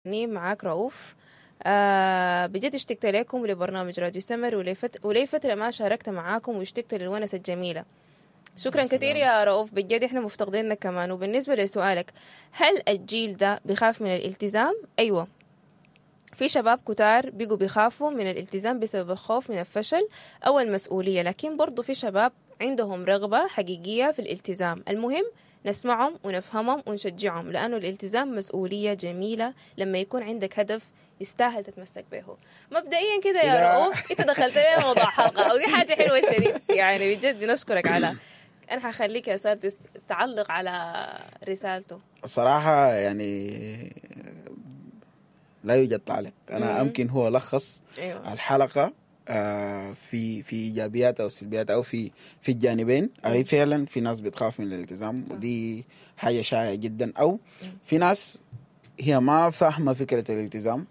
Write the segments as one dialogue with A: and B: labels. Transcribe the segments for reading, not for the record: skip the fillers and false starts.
A: معاك رؤوف. بجد اشتقت لكم ولبرنامج راديو سمر، ولي فترة ما شاركت معاكم، واشتقت للونسة الجميلة. شكرا كثير يا رؤوف، بجد احنا مفتقدينك كمان. وبالنسبة لسؤالك، هل الجيل ده بخاف من الالتزام؟ أيوة، في شباب كتار بقوا بيخافوا من الالتزام بسبب الخوف من الفشل أو المسؤولية، لكن برضو في شباب عندهم رغبة حقيقية في الالتزام. المهم نسمعهم ونفهمهم ونشجعهم، لأنه الالتزام مسؤولية جميلة لما يكون عندك هدف يستاهل تتمسك به. مبدئيا كده يا رؤوف، انت دخلت لنا موضوع حلقة، ودي حاجة حلوة شديد، يعني بجد بنشكرك على. أنا حخليك يا سادس تعلق على رسالته.
B: صراحة يعني لا يوجد تعليق. أنا أمكن هو لخص الحلقة في إيجابياتها أو سلبياتها أو في الجانبين. أي فعلا في ناس بتخاف من الالتزام، ودي حاجة شائعة جدا، أو في ناس هي ما فاهمة فكرة الالتزام،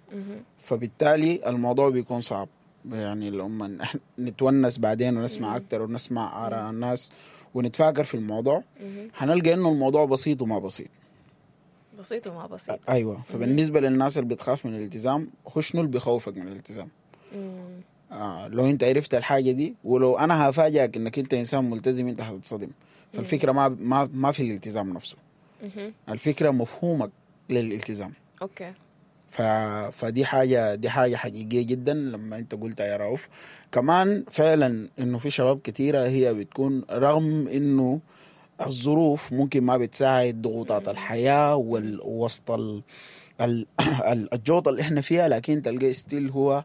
B: فبالتالي الموضوع بيكون صعب. يعني لما نتونس بعدين ونسمع أكتر ونسمع آراء الناس ونتفاكر في الموضوع، هنلقى إنه الموضوع بسيط وما بسيط.
A: بسيط وما بسيط.
B: أيوة. فبالنسبة للناس اللي بتخاف من الالتزام، هو شنو اللي بيخوفك من الالتزام؟ لو أنت عرفت الحاجة دي، ولو أنا هفاجئك إنك أنت إنسان ملتزم، أنت هتتصدم. فالفكرة ما في الالتزام نفسه. الفكرة مفهومك للالتزام.
A: okay.
B: فدي حاجة، دي حاجة حقيقية جدا لما انت قلتها يا رؤوف. كمان فعلا انه في شباب كثيرة هي بتكون رغم انه الظروف ممكن ما بتساعد، ضغوطات الحياة والوسط الجوطة اللي احنا فيها، لكن تلقى still هو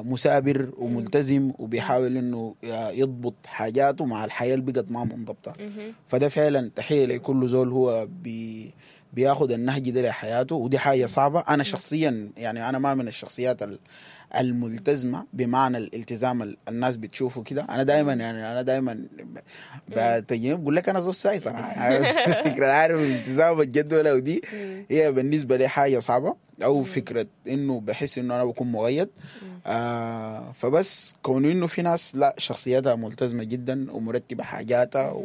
B: مثابر وملتزم وبيحاول انه يضبط حاجاته مع الحياة اللي بقت ما منضبطة. فده فعلا تحية لكل زول هو بياخد النهج ده لحياته، ودي حاجة صعبة. أنا شخصيا يعني أنا ما من الشخصيات الملتزمة بمعنى الالتزام الناس بتشوفه كده. أنا دايما يعني أنا دايما بقول لك أنا زول ساي صراحة. فكرة عارف الالتزام الجدولة ودي هي بالنسبة لي حاجة صعبة، أو فكرة إنه بحس إنه أنا بكون مغيد. فبس كون إنه في ناس لا شخصيتها ملتزمة جدا ومرتبة حاجاتها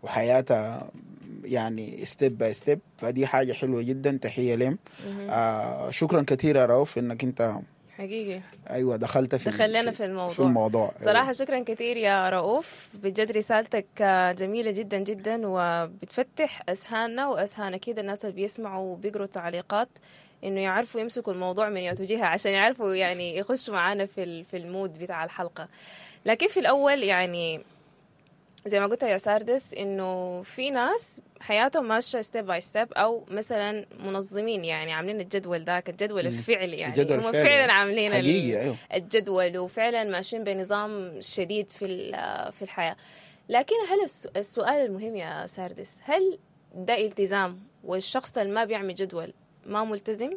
B: وحياتها يعني step by step، فدي حاجة حلوة جدا، تحية لهم. شكرا كثير يا رؤوف انك انت
A: حقيقي
B: ايوه دخلت في
A: دخلنا في الموضوع. صراحة شكرا كثير يا رؤوف، بجد رسالتك جميلة جدا جدا، وبتفتح اذهاننا واذهان اكيد الناس اللي بيسمعوا وبيقروا التعليقات انه يعرفوا يمسكوا الموضوع من يوجهها عشان يعرفوا يعني يخشوا معانا في ال mood بتاع الحلقة. لكن في الاول يعني زي ما قلت يا ساردس انه في ناس حياتهم ماشية step by step، او مثلا منظمين، يعني عاملين الجدول ذاك، الجدول الفعلي، يعني هم فعلا عاملين
B: أيوه.
A: الجدول وفعلا ماشيين بنظام شديد في الحياة. لكن هل السؤال المهم يا ساردس، هل ده التزام؟ والشخص اللي ما بيعمل جدول ما ملتزم؟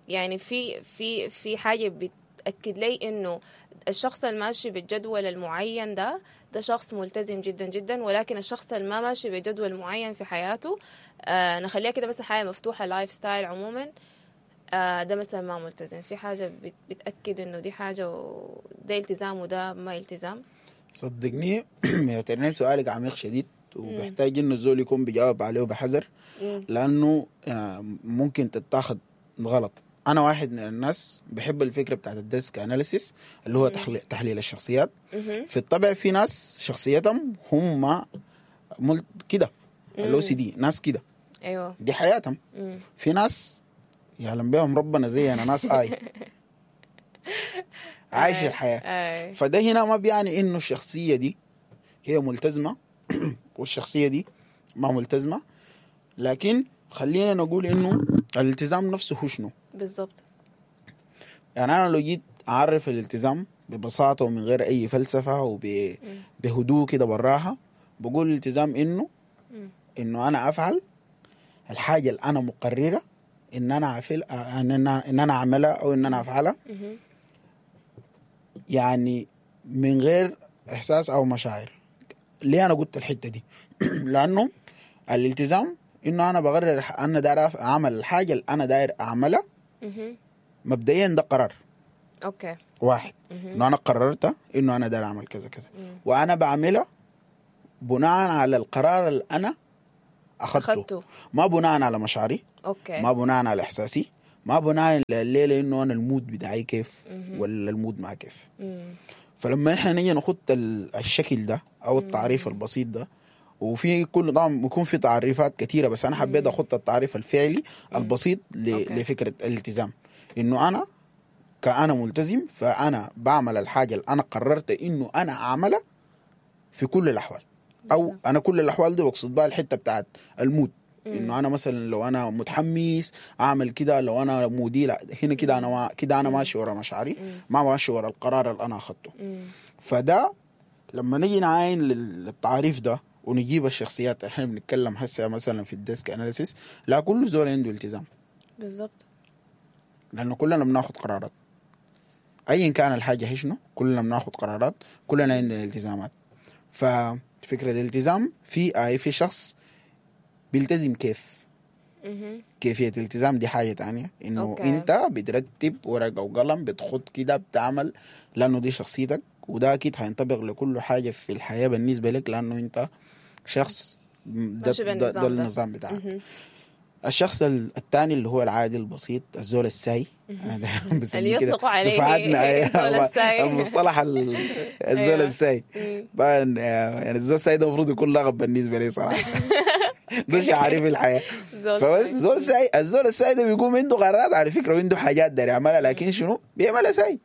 A: يعني في في في حاجة بتاكد لي انه الشخص الماشي بالجدول المعين ده شخص ملتزم جدا جدا، ولكن الشخص اللي ما ماشي بجدول معين في حياته، نخليها كده مثلا حياة مفتوحة، lifestyle عموما، ده مثلا ما ملتزم. في حاجة بتأكد انه دي حاجة وده التزام وده ما التزام؟
B: صدقني يا ترنيم سؤالك عميق شديد، وبيحتاج انه الزول يكون بيجاوب عليه بحذر، لانه ممكن تتاخد غلط. أنا واحد من الناس بحب الفكرة بتاعت ال DISC analysis اللي هو تحليل الشخصيات. في الطبع في ناس شخصيتهم هم كده ال OCD، ناس كده
A: أيوة
B: دي حياتهم. في ناس يعلم بهم ربنا زي أنا، ناس آي عايش الحياة. فده هنا ما بيعني إنه الشخصية دي هي ملتزمة والشخصية دي ما ملتزمة، لكن خلينا نقول إنه الالتزام نفسه هو شنو
A: بالضبط.
B: يعني أنا لو جيت أعرف الالتزام ببساطة ومن غير أي فلسفة وبهدوء كده براها، بقول الالتزام إنه أنا أفعل الحاجة اللي أنا مقررة إن أنا إن أنا أعملها أو إن أنا أفعلها، يعني من غير إحساس أو مشاعر. ليه أنا قلت الحتة دي؟ لأنه الالتزام إنه أنا بقرر أنا داير أعمل الحاجة اللي أنا داير أعملها. مبدئيا ده قرار.
A: okay.
B: واحد. إنه أنا قررت إنه أنا داير أعمل كذا كذا، وأنا بعملها بناء على القرار اللي أنا أخذته، ما بناء على مشاعري.
A: okay.
B: ما بناء على إحساسي، ما بناء الليلة انه انا ال mood بتاعي كيف ولا ال mood ما كيف. فلما احنا نيجي نخط الشكل ده او التعريف البسيط ده، وفي كل طبعا بيكون في تعريفات كثيرة، بس انا حبيت اخط التعريف الفعلي البسيط لفكرة الالتزام، انه انا كأنا ملتزم فانا بعمل الحاجة اللي انا قررت انه انا اعملها في كل الاحوال. او انا كل الاحوال دي بقصد بها الحتة بتاعت ال mood، انه انا مثلا لو انا متحمس اعمل كده، لو انا mood ي لا هنا كده، انا ما كده انا ماشي ورا مشاعري، ما ماشي ورا القرار اللي انا اخذته. فده لما نيجي نعاين للتعريف ده ونجيب الشخصيات، احنا بنتكلم هسه مثلا في ال DISC analysis، لا كل زول عنده التزام.
A: بالضبط،
B: لانه كلنا بناخذ قرارات ايا كان الحاجة هي شنو، كلنا بناخذ قرارات، كلنا عندنا التزامات. ففكره الالتزام في اي في شخص بيلتزم كيف، كيفية الالتزام دي حاجة تانية، انه انت بترتب ورقة وقلم، بتخط كده، بتعمل، لانه دي شخصيتك، وده اكيد هينطبق لكل حاجة في الحياة بالنسبة لك، لانه انت شخص ده النظام بتاعك. الشخص الثاني اللي هو العادي البسيط، الزول الساي، انا
A: اللي يطلقوا عليه الزول الساي،
B: المصطلح الزول الساي. طبعا يعني الزول الساي ده المفروض يكون لغب بالنسبة لي صراحة، ده شعاري في الحياة. فبس زول ساي، الزول الساي ده بيقوم عنده قرارات على فكرة، وعنده حاجات داير يعملها، لكن شنو بيعملها ساي.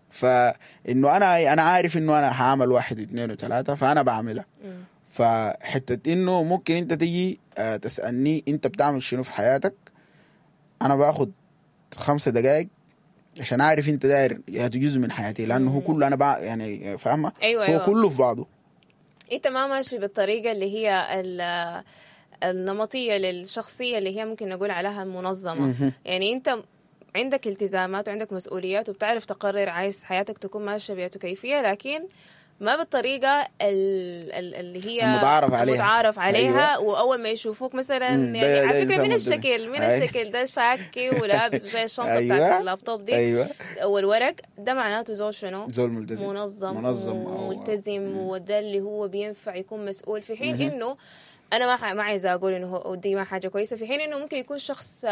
B: فانه انا عارف انه انا هعمل 1 2 3، فانا بعملها. فحتة انه ممكن انت تيجي تسألني انت بتعمل شنو في حياتك، انا باخد 5 دقائق عشان اعرف انت داير يا جزء من حياتي، لانه هو كله انا يعني فاهمه.
A: أيوة،
B: هو
A: أيوة.
B: كله في بعضه.
A: انت ما ماشي بالطريقة اللي هي النمطية للشخصية اللي هي ممكن نقول عليها المنظمة. يعني انت عندك التزامات وعندك مسؤوليات، وبتعرف تقرر عايز حياتك تكون ماشية بيئة كيفية، لكن ما بالطريقة اللي هي المتعارف عليها. أيوة. وأول ما يشوفوك مثلا يعني على فكرة من الشكل، من الشكل ده شاكي ولابس وشايل الشنطة. أيوة. بتاعت اللابتوب دي.
B: أيوة.
A: والورق ده معناته زول شنو؟
B: زول ملتزم،
A: منظم وملتزم، وده اللي هو بينفع يكون مسؤول. في حين إنه أنا ما عايزة أقول إنه دي ما حاجة كويسة، في حين إنه ممكن يكون شخص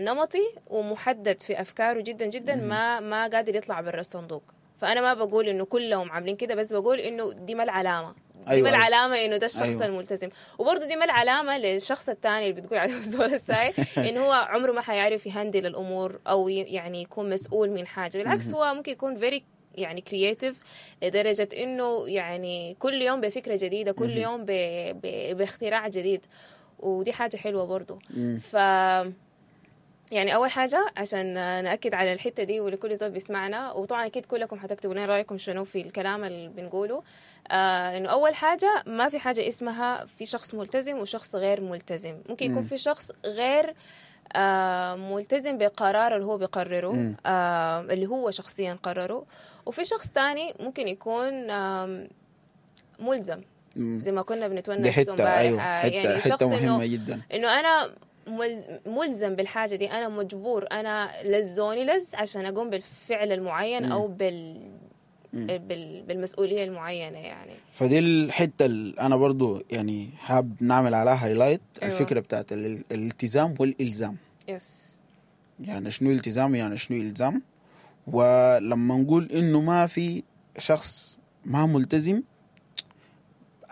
A: نمطي ومحدد في أفكاره جدا جدا، ما قادر يطلع برا الصندوق. فأنا ما بقول إنه كلهم عاملين كده، بس بقول إنه دي ما العلامة، دي
B: أيوة.
A: ما العلامة إنه ده الشخص
B: أيوة.
A: الملتزم. وبرضه دي ما العلامة للشخص الثاني اللي بتقول عليه زول الساي، إنه هو عمره ما حيعرف ي handle الأمور أو يعني يكون مسؤول من حاجة. بالعكس هو ممكن يكون very يعني creative لدرجة إنه يعني كل يوم بفكرة جديدة، كل يوم باختراع جديد، ودي حاجة حلوة برضه. ف يعني أول حاجة عشان نأكد على الحتة دي ولكل زول بيسمعنا، وطبعا أكيد كلكم حتكتبوا لنا رأيكم شنو في الكلام اللي بنقوله، إنه أول حاجة ما في حاجة اسمها في شخص ملتزم وشخص غير ملتزم. ممكن يكون في شخص غير ملتزم بقرار اللي هو بيقرره، اللي هو شخصيا قرره، وفي شخص تاني ممكن يكون ملزم زي ما كنا بنتونس.
B: حتة أيوة. يعني حتة مهمة جدا،
A: إنه أنا ملزم بالحاجة دي، أنا مجبور، أنا لزوني لز عشان أقوم بالفعل المعين أو بالمسؤولية المعينة يعني.
B: فدي الحتة اللي أنا برضو يعني حاب نعمل عليها highlight. أيوة. الفكرة بتاعت الالتزام والإلزام.
A: yes.
B: يعني شنو التزام، يعني شنو إلزام. ولما نقول إنه ما في شخص ما ملتزم،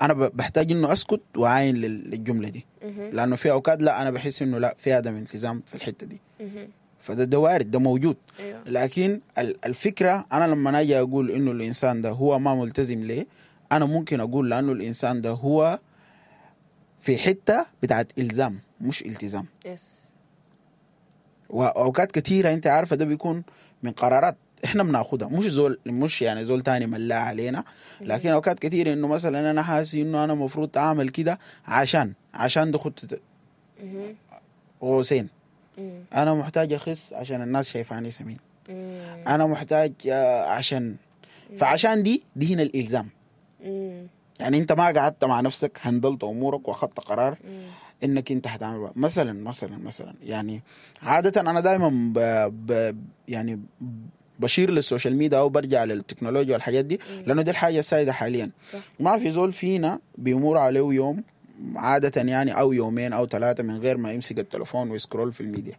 B: أنا بحتاج إنه أسكت وأعاين للجملة دي، لأنه في أوقات لا أنا بحس إنه لا في عدم التزام في الحتة دي. فده ده وارد، ده موجود.
A: أيوة.
B: لكن الفكرة أنا لما أجي أقول إنه الإنسان ده هو ما ملتزم ليه، أنا ممكن أقول لأنه الإنسان ده هو في حتة بتاعت إلزام مش التزام.
A: yes.
B: وأوقات كثيرة أنت عارفة ده بيكون من قرارات احنا بناخدها، مش زول، مش يعني زول تاني ملا علينا، لكن اوقات كثيرة انه مثلا انا حاسس انه انا مفروض اعمل كده عشان ده خط قوسين، انا محتاج اخس عشان الناس شايفاني سمين، انا محتاج عشان، فعشان دي هنا الالزام. يعني انت ما قعدت مع نفسك هندلت امورك واخدت قرار انك انت هتعمل مثلا مثلا مثلا. يعني عادة انا دائما يعني بشير لل social media او برجع للتكنولوجيا والحاجات دي، لانه دي الحاجة السائدة حاليا.
A: صح.
B: ما في زول فينا بيمر عليه يوم عادة يعني او يومين او ثلاثة من غير ما يمسك التليفون وي scroll في الميديا.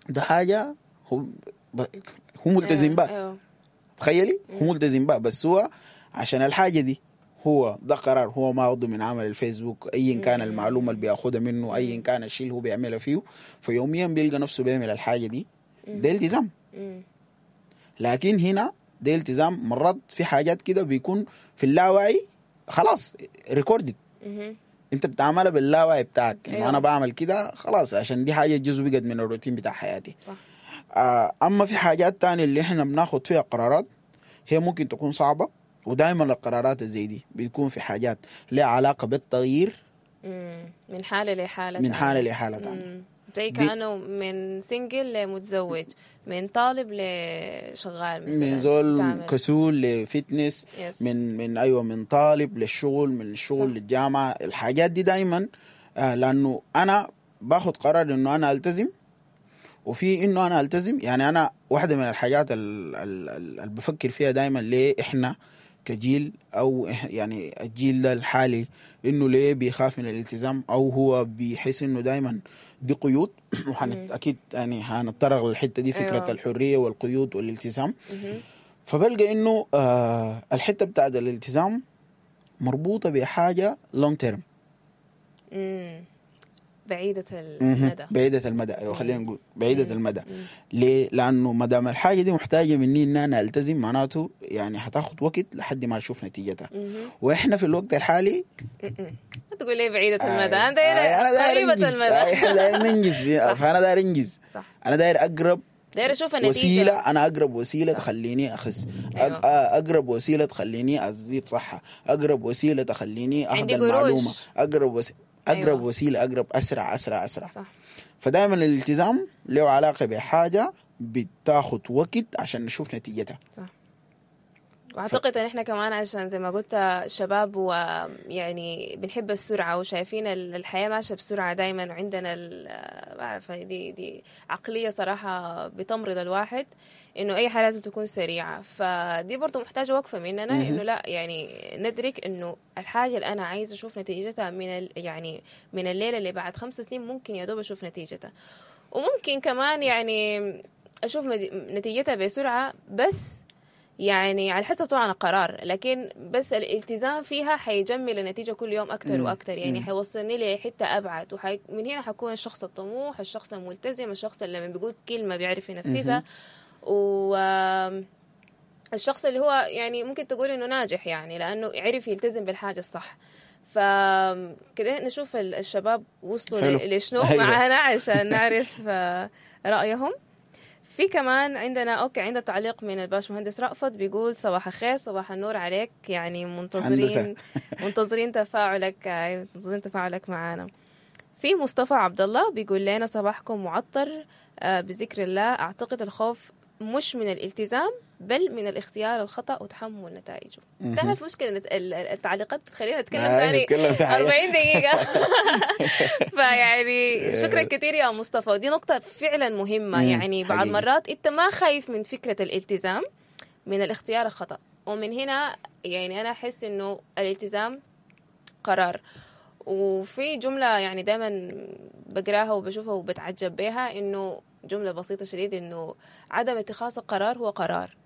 B: ده حاجة هو هو ملتزم بها. تخيلي هو ملتزم بها، بس هو عشان الحاجة دي هو ده قرار هو ما اخده من عمل الفيسبوك، ايا كان المعلومة اللي بياخدها منه، ايا كان الشيء اللي هو بيعملها فيه، فيوميا بيلقى نفسه بيعمل الحاجة دي. ده التزام. لكن هنا ده التزام مرات في حاجات كده بيكون في اللاوعي خلاص recorded، انت بتعملها باللاوعي بتاعك انه انا بعمل كده خلاص عشان دي حاجة جزء بقت من الروتين بتاع حياتي. اما في حاجات تانية اللي احنا بناخد فيها قرارات هي ممكن تكون صعبة، ودائما القرارات زي دي بتكون في حاجات لها علاقة بالتغيير
A: من حاله لحاله
B: من حاله لحاله ثانية.
A: زي كانه من single لمتزوج، من طالب لشغال مثلا،
B: من زول كسول ل fitness، من ايوه، من طالب للشغل، من الشغل للجامعة. الحاجات دي دائما لانه انا باخد قرار انه انا التزم، وفي انه انا التزم يعني انا واحدة من الحاجات اللي بفكر فيها دائما، ليه احنا كجيل او يعني الجيل ده الحالي انه ليه بيخاف من الالتزام، او هو بيحس انه دائما دي قيود. اكيد يعني هنتطرق للحتة دي، فكرة الحرية والقيود والالتزام. فبلقى انه الحتة بتاعت الالتزام مربوطة بحاجة long term،
A: بعيدة المدى.
B: بعيدة المدى، ايوه، خلينا نقول بعيدة المدى. ليه؟ لأنه ما دام الحاجة دي محتاجة مني إن أنا ألتزم، معناته يعني هتاخد وقت لحد ما أشوف نتيجتها. واحنا في الوقت الحالي
A: ما تقول لي بعيدة المدى، أنا داير قريبة المدى.
B: احنا داير ننجز، فأنا داير أنجز. أنا داير أقرب
A: داير اشوف النتيجة.
B: وسيلة، انا اقرب وسيلة تخليني اخس، اقرب وسيلة تخليني ازيد صحة، اقرب وسيلة تخليني اخذ المعلومة، اقرب وسيلة، اقرب وسيلة، اقرب، اسرع اسرع اسرع. فدائما الالتزام له علاقة بحاجة بتاخد وقت عشان نشوف نتيجتها.
A: صح. واعتقد ان احنا كمان عشان زي ما قلت شباب، ويعني بنحب السرعة وشايفين الحياة ماشية بسرعة دائما، وعندنا بعرف دي عقلية صراحة بتمرض الواحد، انه اي حاجة لازم تكون سريعه. فدي برضه محتاجه وقفه مننا، انه لا، يعني ندرك انه الحاجة اللي انا عايزه اشوف نتيجتها من يعني من الليلة اللي بعد 5 سنين ممكن يا دوب اشوف نتيجتها، وممكن كمان يعني اشوف نتيجتها بسرعه، بس يعني على حسب طبعا القرار، لكن بس الالتزام فيها حيجمل النتيجة كل يوم أكتر وأكتر، يعني حيوصلني لحتة أبعد، من هنا حكون الشخص الطموح، الشخص الملتزم، الشخص اللي لما بيقول كلمة بيعرف ينفذها، و الشخص اللي هو يعني ممكن تقول إنه ناجح، يعني لأنه عرف يلتزم بالحاجة الصح. فكده نشوف الشباب وصلوا لشنو معانا عشان نعرف رأيهم. في كمان عندنا، okay، عندنا تعليق من الباش مهندس رأفت، بيقول صباح الخير. صباح النور عليك، يعني منتظرين منتظرين تفاعلك، منتظرين تفاعلك معنا. في مصطفى عبد الله بيقول لنا صباحكم معطر بذكر الله. اعتقد الخوف مش من الالتزام بل من الاختيار الخطأ وتحمل نتائجه. تعرف مشكلة التعليقات بتخلينا نتكلم ثاني
B: نتكلم في حاجات.
A: 40 دقيقة. فيعني شكرا كثير يا مصطفى، ودي نقطة فعلا مهمة. يعني بعض مرات انت ما خايف من فكرة الالتزام، من الاختيار الخطأ. ومن هنا يعني أنا أحس إنه الالتزام قرار. وفي جملة يعني دائما بقراها وبشوفها وبتعجب بها، إنه جملة بسيطة شديد، إنه عدم اتخاذ القرار هو قرار،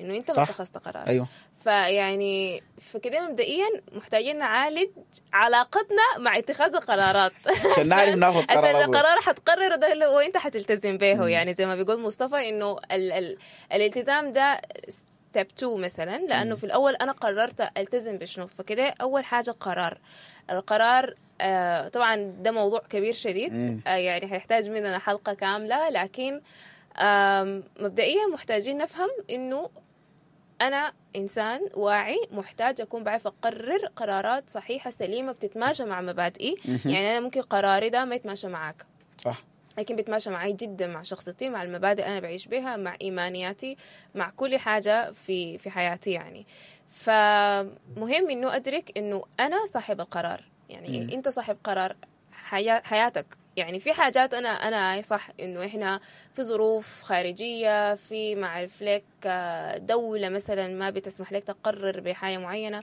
A: إنه أنت ما اتخذت قرار. فيعني فكده مبدئيا محتاجين نعالج علاقتنا مع اتخاذ القرارات
B: عشان نعرف ناخذ قرار
A: عشان
B: أصلاً.
A: القرار حتقرره ده اللي هو انت حتلتزم به. يعني زي ما بيقول مصطفى انه ال ال الالتزام ده step 2 مثلا، لانه في الاول انا قررت التزم بشنو. فكده اول حاجة قرار، القرار طبعا ده موضوع كبير شديد، يعني حيحتاج مننا حلقة كامله، لكن مبدئيا محتاجين نفهم انه انا انسان واعي محتاج اكون بعرف اقرر قرارات صحيحه سليمة بتتماشى مع مبادئي. يعني انا ممكن قراري ده ما يتماشى معاك، لكن بيتماشى معي جدا، مع شخصيتي، مع المبادئ انا بعيش بها، مع ايمانياتي، مع كل حاجة في حياتي يعني. فمهم انه ادرك انه انا صاحب القرار، يعني انت صاحب قرار حياتك. يعني يعني في حاجات انا أي صح انه احنا في ظروف خارجية، في ما اعرف لك دولة مثلا ما بتسمح لك تقرر بحاجة معينة،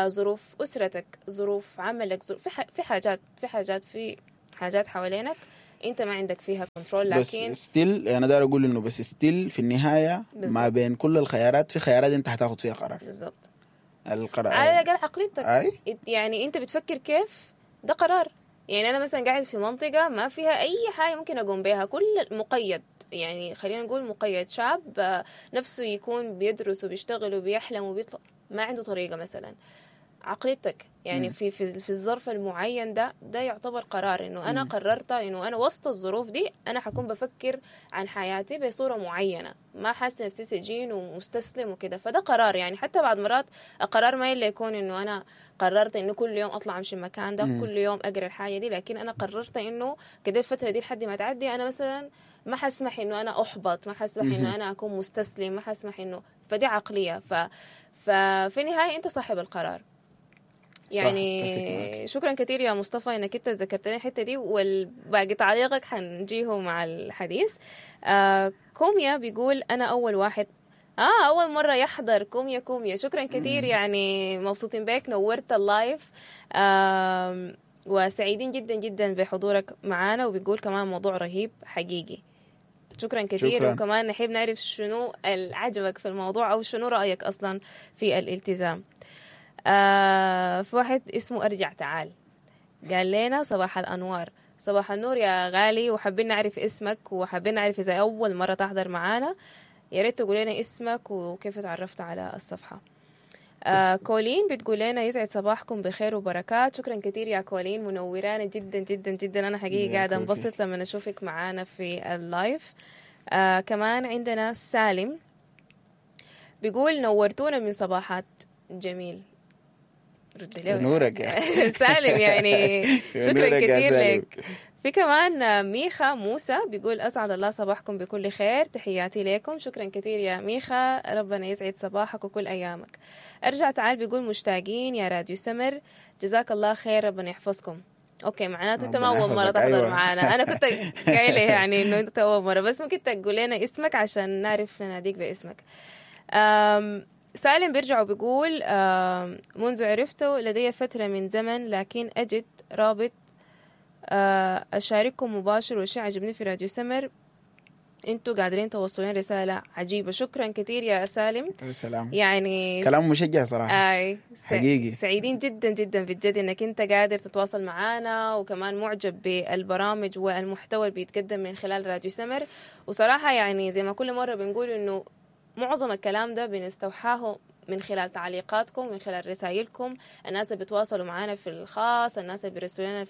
A: ظروف اسرتك، ظروف عملك، ظروف في حاجات في حاجات في حاجات حوالينك انت ما عندك فيها control.
B: بس
A: لكن
B: still انا داير اقول انه بس still في النهاية ما بين كل الخيارات في خيارات انت هتاخد فيها قرار.
A: بالضبط،
B: القرار
A: على الاقل عقليتك
B: اي
A: يعني انت بتفكر كيف، ده قرار. يعني انا مثلا قاعد في منطقة ما فيها اي حاجة ممكن اقوم بها، كل مقيد، يعني خلينا نقول مقيد، شاب نفسه يكون بيدرس وبيشتغل وبيحلم وبيطلع، ما عنده طريقه مثلا. عقليتك يعني في في في الظرف المعين ده يعتبر قرار، انه انا قررت انه انا وسط الظروف دي انا حكون بفكر عن حياتي بصورة معينة، ما حاسه نفسي سجين ومستسلم وكده، فده قرار. يعني حتى بعد مرات القرار ما الا يكون انه انا قررت انه كل يوم اطلع امشي المكان ده، كل يوم اقرا الحاجة دي، لكن انا قررت انه كده الفترة دي لحد ما تعدي انا مثلا ما حسمح انه انا احبط، ما حسمح انه انا اكون مستسلم، ما حسمح انه، فدي عقلية. ففي النهاية انت صاحب القرار. يعني شكرا كثير يا مصطفى انك انت ذكرتني الحتة دي، والباقي تعليقك حنجيه مع الحديث. كوميا بيقول انا اول واحد اول مرة يحضر. كوميا شكرا كثير، يعني مبسوطين بك، نورت ال live، وسعيدين جدا جدا بحضورك معانا. وبيقول كمان موضوع رهيب حقيقي، شكرا كثير. شكرا. وكمان نحب نعرف شنو عجبك في الموضوع او شنو رايك اصلا في الالتزام. في واحد اسمه أرجع تعال قال لنا صباح الأنوار. صباح النور يا غالي، وحابين نعرف اسمك، وحابين نعرف إذا أول مرة تحضر معانا، يا ريت تقول لنا اسمك وكيف تعرفت على الصفحة. كولين بتقول لنا يسعد صباحكم بخير وبركات. شكرا كثير يا كولين، منورانا جدا جدا جدا، أنا حقيقي قاعدة انبسط لما أشوفك معانا في ال live. كمان عندنا سالم بيقول نورتونا من صباحات جميل. رد له
B: نورك يا
A: سالم، يعني شكرا كثير لك. في كمان ميخا موسى بيقول أسعد الله صباحكم بكل خير، تحياتي لكم. شكرا كثير يا ميخا، ربنا يسعد صباحك وكل أيامك. أرجع تعال بيقول مشتاقين يا راديو سمر، جزاك الله خير، ربنا يحفظكم. okay، معناته انت ما اول مرة تحضر. أيوة. معانا، انا كنت قايله يعني انه انت اول مرة، بس ممكن تقول لنا اسمك عشان نعرف نناديك باسمك. سالم بيرجع وبيقول منذ عرفته لدي فترة من زمن، لكن أجد رابط أشارككم مباشر، والشيء عجبني في راديو سمر، انتوا قادرين توصلون رسالة عجيبة. شكرا كثير يا سالم.
B: سلام،
A: يعني
B: كلام مشجع صراحة.
A: اي
B: حقيقي
A: سعيدين جدا جدا بجد انك انت قادر تتواصل معانا، وكمان معجب بالبرامج والمحتوى اللي بيتقدم من خلال راديو سمر. وصراحة يعني زي ما كل مرة بنقول انه معظم الكلام ده بنستوحاه من خلال تعليقاتكم، من خلال رسائلكم، الناس اللي بيتواصلوا معانا في الخاص، الناس اللي بيرسلوا لنا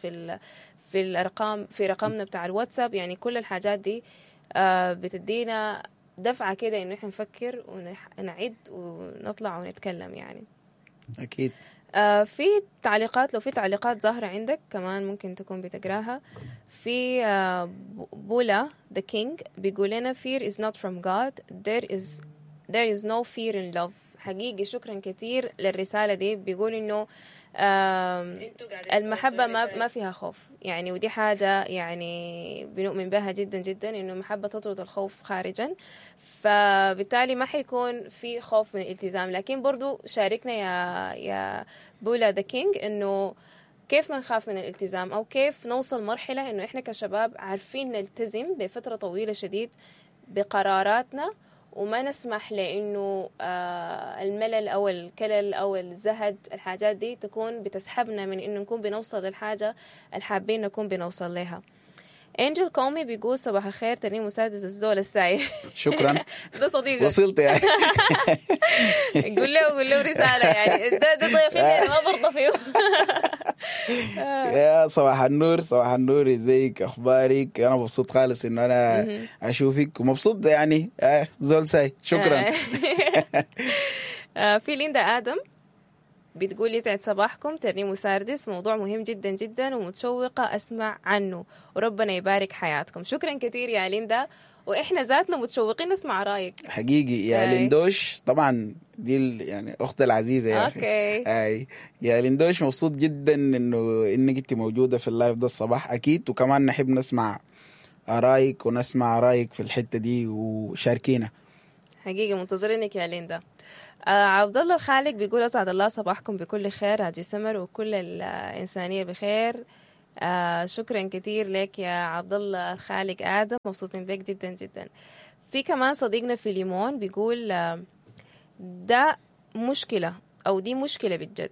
A: في الارقام، في رقمنا بتاع الواتساب. يعني كل الحاجات دي بتدينا دفعة كده انه احنا نفكر ونعد ونطلع ونتكلم يعني.
B: اكيد.
A: في تعليقات، لو في تعليقات ظاهرة عندك كمان ممكن تكون بتقراها. في بولا the king بيقول لنا fear is not from God, there is no fear in love. حقيقي شكرا كثير للرسالة دي. بيقول انه المحبة ما فيها خوف يعني، ودي حاجة يعني بنؤمن بها جدا جدا، انه المحبة تطرد الخوف خارجا، فبالتالي ما حيكون في خوف من الالتزام. لكن برضو شاركنا يا بولا the king انه كيف ما نخاف من الالتزام، او كيف نوصل مرحلة انه احنا كشباب عارفين نلتزم بفترة طويلة شديد بقراراتنا، وما نسمح لأنه الملل أو الكلل أو الزهد، الحاجات دي تكون بتسحبنا من إنه نكون بنوصل للحاجة الحابين نكون بنوصل لها. انجل كومي بيقول صباح الخير، ترنيم مساعدة الزول الساي.
B: شكرا.
A: ده صديقك،
B: وصلت يعني.
A: قول له رسالة يعني، ده ضيفين انا ما برضى فيه.
B: يا صباح النور، صباح النور، ازيك، اخبارك؟ انا مبسوط خالص انه انا اشوفك، ومبسوط يعني زول ساي. شكرا.
A: في ليندا ادم بتقول يسعد صباحكم ترنيم وساردس، موضوع مهم جدا جدا ومتشوقة أسمع عنه، وربنا يبارك حياتكم. شكرا كثير يا ليندا، وإحنا ذاتنا متشوقين نسمع رأيك.
B: حقيقي يا
A: أي.
B: ليندوش، طبعا دي يعني أخت العزيزة يا أخي.
A: okay.
B: أي يا ليندوش، مبسوط جدا إنك أنت موجودة في ال live ده الصباح أكيد، وكمان نحب نسمع رأيك ونسمع رأيك في الحتة دي وشاركينا.
A: حقيقي منتظرينك يا ليندا. عبد الله الخالق بيقول أسعد الله صباحكم بكل خير، راديو سمر وكل الإنسانية بخير. شكرا كثير لك يا عبد الله الخالق آدم، مبسوطين بك جدا جدا. في كمان صديقنا في ليمون بيقول ده مشكلة أو دي مشكلة بجد.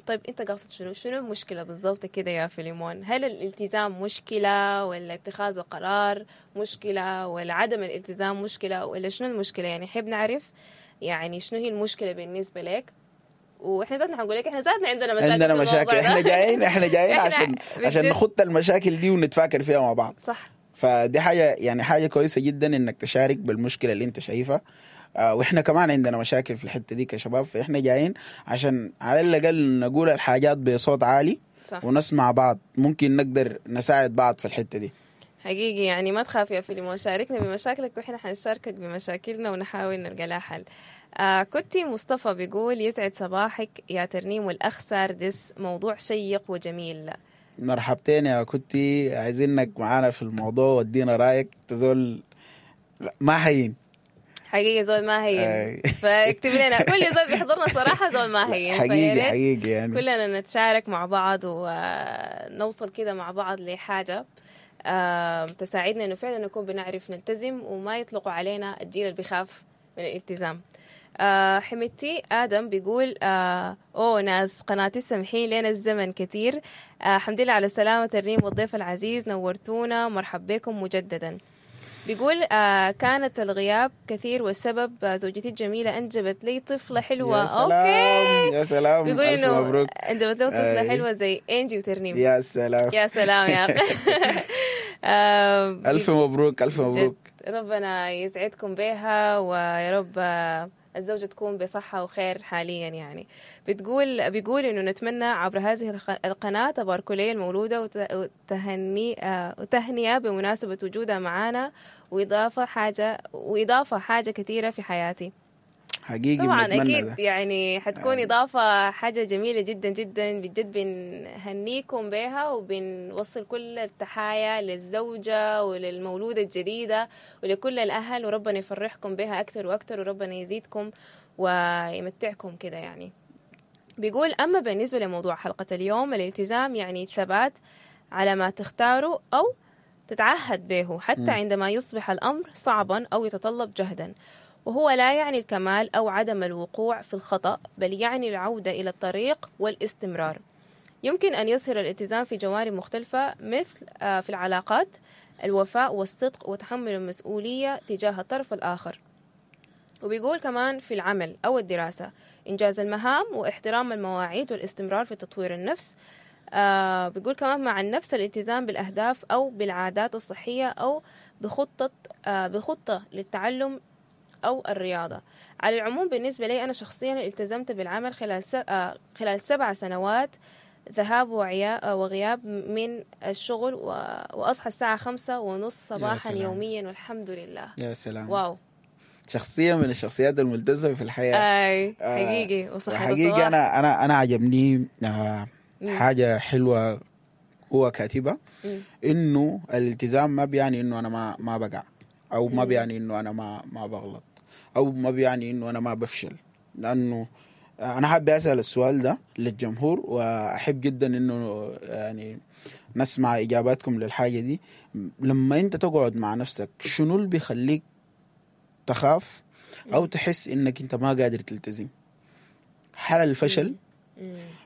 A: طيب أنت قاصد شنو المشكلة بالضبط كده يا فيليمون؟ هل الالتزام مشكلة، ولا اتخاذ القرار مشكلة، ولا عدم الالتزام مشكلة، ولا شنو المشكلة؟ يعني حب نعرف يعني شنو هي المشكلة بالنسبة لك. واحنا ذاتنا حنقول لك احنا ذاتنا عندنا مشاكل،
B: عندنا
A: في الموضوع
B: مشاكل،
A: ده.
B: احنا جايين
A: إحنا
B: عشان
A: بجد.
B: نخط المشاكل دي ونتفاكر فيها مع بعض.
A: صح.
B: فدي حاجة، يعني حاجة كويسة جدا انك تشارك بالمشكلة اللي انت شايفها. واحنا كمان عندنا مشاكل في الحتة دي كشباب، فاحنا جايين عشان على الاقل نقول الحاجات بصوت عالي
A: صح.
B: ونسمع بعض، ممكن نقدر نساعد بعض في الحتة دي.
A: حقيقي يعني ما تخاف يا فيليمون، شاركنا بمشاكلك واحنا حنشاركك بمشاكلنا ونحاول نلقى لها حل. كنتي مصطفى بيقول يسعد صباحك يا ترنيم والأخ ساردس، موضوع شيق وجميل.
B: مرحبتين يا كنتي، عايزينك معانا في الموضوع ودينا رايك، تزول ما هين.
A: حقيقي زول ما هين.
B: أي.
A: فاكتب لنا، كل زول بيحضرنا صراحة زول ما هين. فيا
B: حقيقي
A: ريت
B: حقيقي يعني
A: كلنا نتشارك مع بعض ونوصل كده مع بعض لحاجة تساعدنا انه فعلا نكون بنعرف نلتزم وما يطلقوا علينا الجيل اللي بيخاف من الالتزام. حمدتي آدم بيقول أوه ناس قناة السمحين لنا الزمن كثير. الحمد لله على السلامة ترنيم والضيف العزيز، نورتونا، مرحب بكم مجددا. بيقول كانت الغياب كثير والسبب زوجتي الجميلة أنجبت لي طفلة حلوة.
B: يا سلام.
A: okay.
B: يا سلام،
A: بيقول
B: ألف
A: إنه
B: مبروك.
A: أنجبت له طفلة
B: أي.
A: حلوة زي إنجي وترنيم.
B: يا سلام.
A: يا سلام يا أخي.
B: ألف مبروك، ألف مبروك.
A: جد ربنا يسعدكم بها، ويا رب الزوجة تكون بصحة وخير حاليا. يعني بيقول إنه نتمنى عبر هذه القناة تباركوا لي المولودة وتهنئة بمناسبة وجودها معانا، وإضافة حاجة كثيرة في حياتي.
B: حقيقي
A: طبعا
B: بنتمنى
A: أكيد
B: ده.
A: يعني حتكون إضافة حاجة جميلة جدا جدا بجد، بنهنيكم بها وبنوصل كل التحايا للزوجة وللمولودة الجديدة ولكل الأهل، وربنا يفرحكم بها أكثر وأكثر، وربنا يزيدكم ويمتعكم كده. يعني بيقول أما بالنسبة لموضوع حلقة اليوم، الالتزام يعني الثبات على ما تختاره أو تتعهد به حتى عندما يصبح الأمر صعبا أو يتطلب جهدا، وهو لا يعني الكمال أو عدم الوقوع في الخطأ، بل يعني العودة إلى الطريق والاستمرار. يمكن أن يظهر الالتزام في جوانب مختلفة، مثل في العلاقات، الوفاء والصدق وتحمل المسؤولية تجاه الطرف الآخر. وبيقول كمان في العمل أو الدراسة، إنجاز المهام واحترام المواعيد والاستمرار في تطوير النفس. بيقول كمان مع النفس، الالتزام بالأهداف أو بالعادات الصحية أو بخطة للتعلم أو الرياضة. على العموم بالنسبة لي أنا شخصيا التزمت بالعمل خلال 7 سنوات ذهاب وغياب من الشغل، وأصحى الساعة 5:30 صباحا
B: سلام.
A: يوميا، والحمد لله.
B: يا سلام.
A: wow.
B: شخصية من الشخصيات الملتزمة في الحياة.
A: أي حقيقي وصحة
B: حقيقي
A: الصباح.
B: انا عجبني حاجة حلوة هو كاتبها، انه الالتزام ما بيعني انه انا ما بقع، او ما بيعني انه انا ما بغلط، او ما بيعني انه انا ما بفشل. لانه انا حابب اسال السؤال ده للجمهور، واحب جدا انه يعني نسمع اجاباتكم للحاجة دي. لما انت تقعد مع نفسك، شنو اللي بيخليك تخاف او تحس انك انت ما قادر تلتزم؟ هل الفشل؟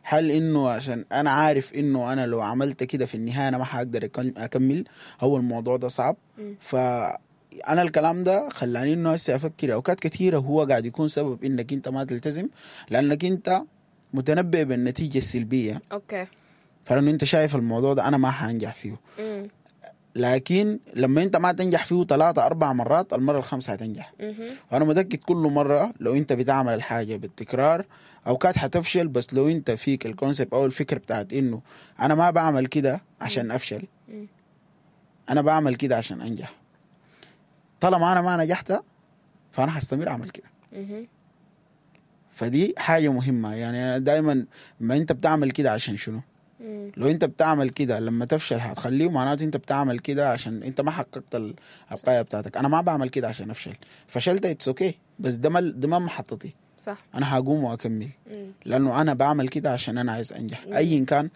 B: هل انه عشان انا عارف انه انا لو عملت كده في النهاية انا ما حقدر اكمل، هو الموضوع ده صعب؟ فانا الكلام ده خلاني انه هسه افكر اوقات كثيرة هو قاعد يكون سبب انك انت ما تلتزم، لانك انت متنبئ بالنتيجة السلبية.
A: okay.
B: فلانه انت شايف الموضوع ده انا ما حانجح فيه. لكن لما انت ما تنجح فيه 3 4 مرات، المرة الخامسة هتنجح. وانا متاكد كل مرة لو انت بتعمل الحاجة بالتكرار اوقات حتفشل، بس لو انت فيك ال concept او الفكرة بتاعت انه انا ما بعمل كده عشان افشل، انا بعمل كده عشان انجح. طالما انا ما نجحت فانا هستمر اعمل كده. فدي حاجة مهمة. يعني انا دايما ما انت بتعمل كده عشان شنو؟ لو انت بتعمل كده لما تفشل هتخليه، معناته انت بتعمل كده عشان انت ما حققت الغاية بتاعتك. انا ما بعمل كده عشان افشل، فشلت it's okay، بس ده ما محطتي.
A: صح.
B: انا هقوم واكمل، لانه انا بعمل كده عشان انا عايز انجح. ايا كان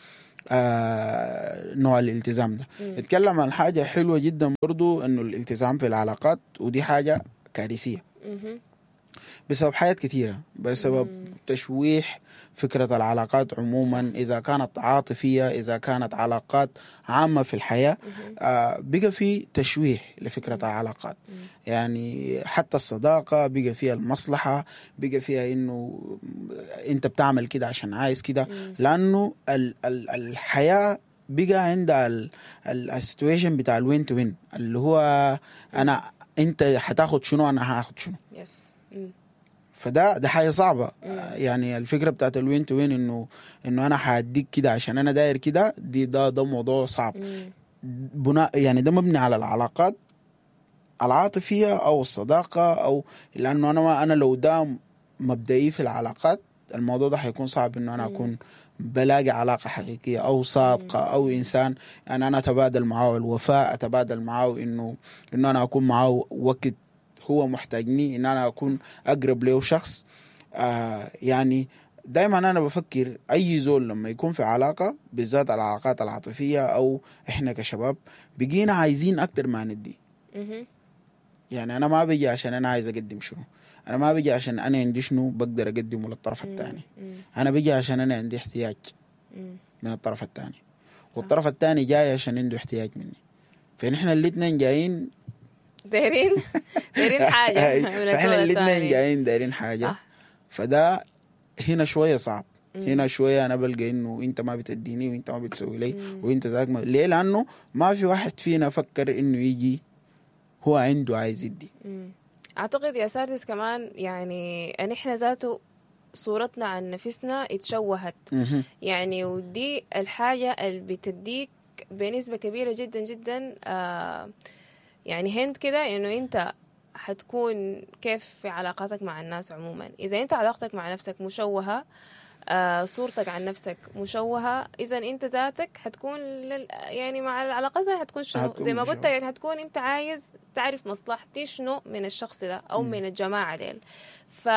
B: نوع الالتزام ده. اتكلم عن حاجة حلوة جدا برضو، انه الالتزام في العلاقات، ودي حاجة كارثية بسبب حاجات كثيرة، بسبب تشويح فكرة العلاقات عموما. صح. إذا كانت عاطفية، إذا كانت علاقات عامة في الحياة، بقى في تشويح لفكرة العلاقات. يعني حتى الصداقة بقى فيها المصلحة، بقى فيها إنه أنت بتعمل كده عشان عايز كده، لأنه الحياة بقى عندها ال situation بتاع ال win to win، اللي هو أنا أنت هتاخد شنو أنا هاخد شنو.
A: yes.
B: فده ده حاجة صعبة. يعني الفكرة بتاعت ال win to win، انه انا هاديك كده عشان انا داير كده، دي ده موضوع صعب. بناء يعني ده مبني على العلاقات العاطفية او الصداقة، او لانه انا لو ده مبدئي في العلاقات، الموضوع ده حيكون صعب انه انا اكون بلاقي علاقة حقيقية او صادقة او انسان يعني انا اتبادل معه الوفاء، اتبادل معه انه انا اكون معه وقت هو محتاجني، ان انا اكون اقرب له شخص. يعني دايما انا بفكر اي زول لما يكون في علاقة، بالذات العلاقات العاطفية، او احنا كشباب بقينا عايزين اكتر ما ندي. يعني انا ما بيجي عشان انا عايز اقدم شنو، انا ما بيجي عشان انا عندي شنو بقدر اقدمه للطرف الثاني، انا بيجي عشان انا عندي احتياج من الطرف الثاني، والطرف الثاني جاي عشان عنده احتياج مني. فنحن الاثنين جايين
A: دايرين حاجة،
B: فاحنا الاثنين جايين دايرين حاجة. صح. فده هنا شوية صعب. هنا شوية انا بلقى انه انت ما بتديني وانت ما بتسوي لي وانت ذاك ما... ليه؟ لانه ما في واحد فينا فكر انه يجي هو عنده عايز يدي.
A: اعتقد يا ساردس كمان يعني ان احنا ذاته صورتنا عن نفسنا اتشوهت. يعني ودي الحاجة اللي بتديك بنسبة كبيرة جدا جدا يعني هند كده، انه انت حتكون كيف في علاقاتك مع الناس عموما. اذا انت علاقتك مع نفسك مشوهة، صورتك عن نفسك مشوهة، اذا انت ذاتك حتكون يعني مع العلاقات حتكون شنو زي ما قلت، يعني حتكون انت عايز تعرف مصلحتي شنو من الشخص ده او من الجماعة ديل. ف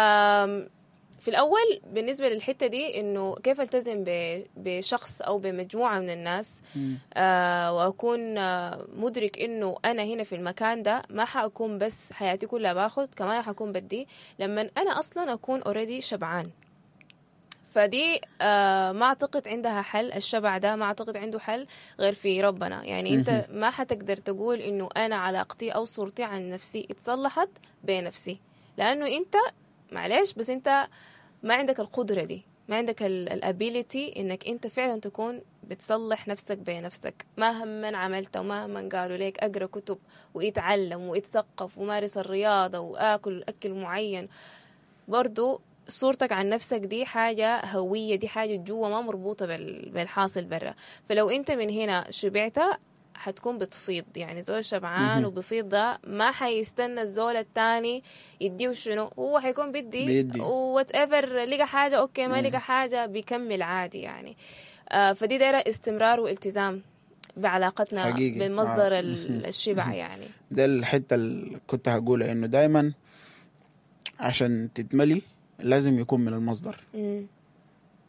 A: في الأول بالنسبة للحتة دي إنه كيف ألتزم بشخص أو بمجموعة من الناس، وأكون مدرك إنه أنا هنا في المكان ده ما حأكون بس حياتي كلها باخد، كمان حأكون بدي، لما أنا أصلا أكون already شبعان. فدي ما أعتقد عندها حل، الشبع ده ما أعتقد عنده حل غير في ربنا. يعني أنت ما حتقدر تقول إنه أنا علاقتي أو صورتي عن نفسي اتصلحت بنفسي، لأنه أنت معلش بس أنت ما عندك القدرة دي، ما عندك ال ability انك انت فعلا تكون بتصلح نفسك بنفسك. مهما عملت ومهما قالوا لك اقرا كتب واتعلم واتثقف ومارس الرياضة واكل اكل معين، برضو صورتك عن نفسك دي حاجة هوية، دي حاجة جوا ما مربوطة بالحاصل برا. فلو انت من هنا شبعت حتكون بتفيض، يعني زول شبعان وبفيض ده ما حيستنى الزول التاني يديه شنو، هو حيكون بدي whatever، لقى حاجة okay، ما لقى حاجة بيكمل عادي يعني. فدي دايرة استمرار والتزام بعلاقتنا حقيقي بمصدر الشبع يعني.
B: ده الحتة اللي كنت هقولها، إنه دايما عشان تتملي لازم يكون من المصدر،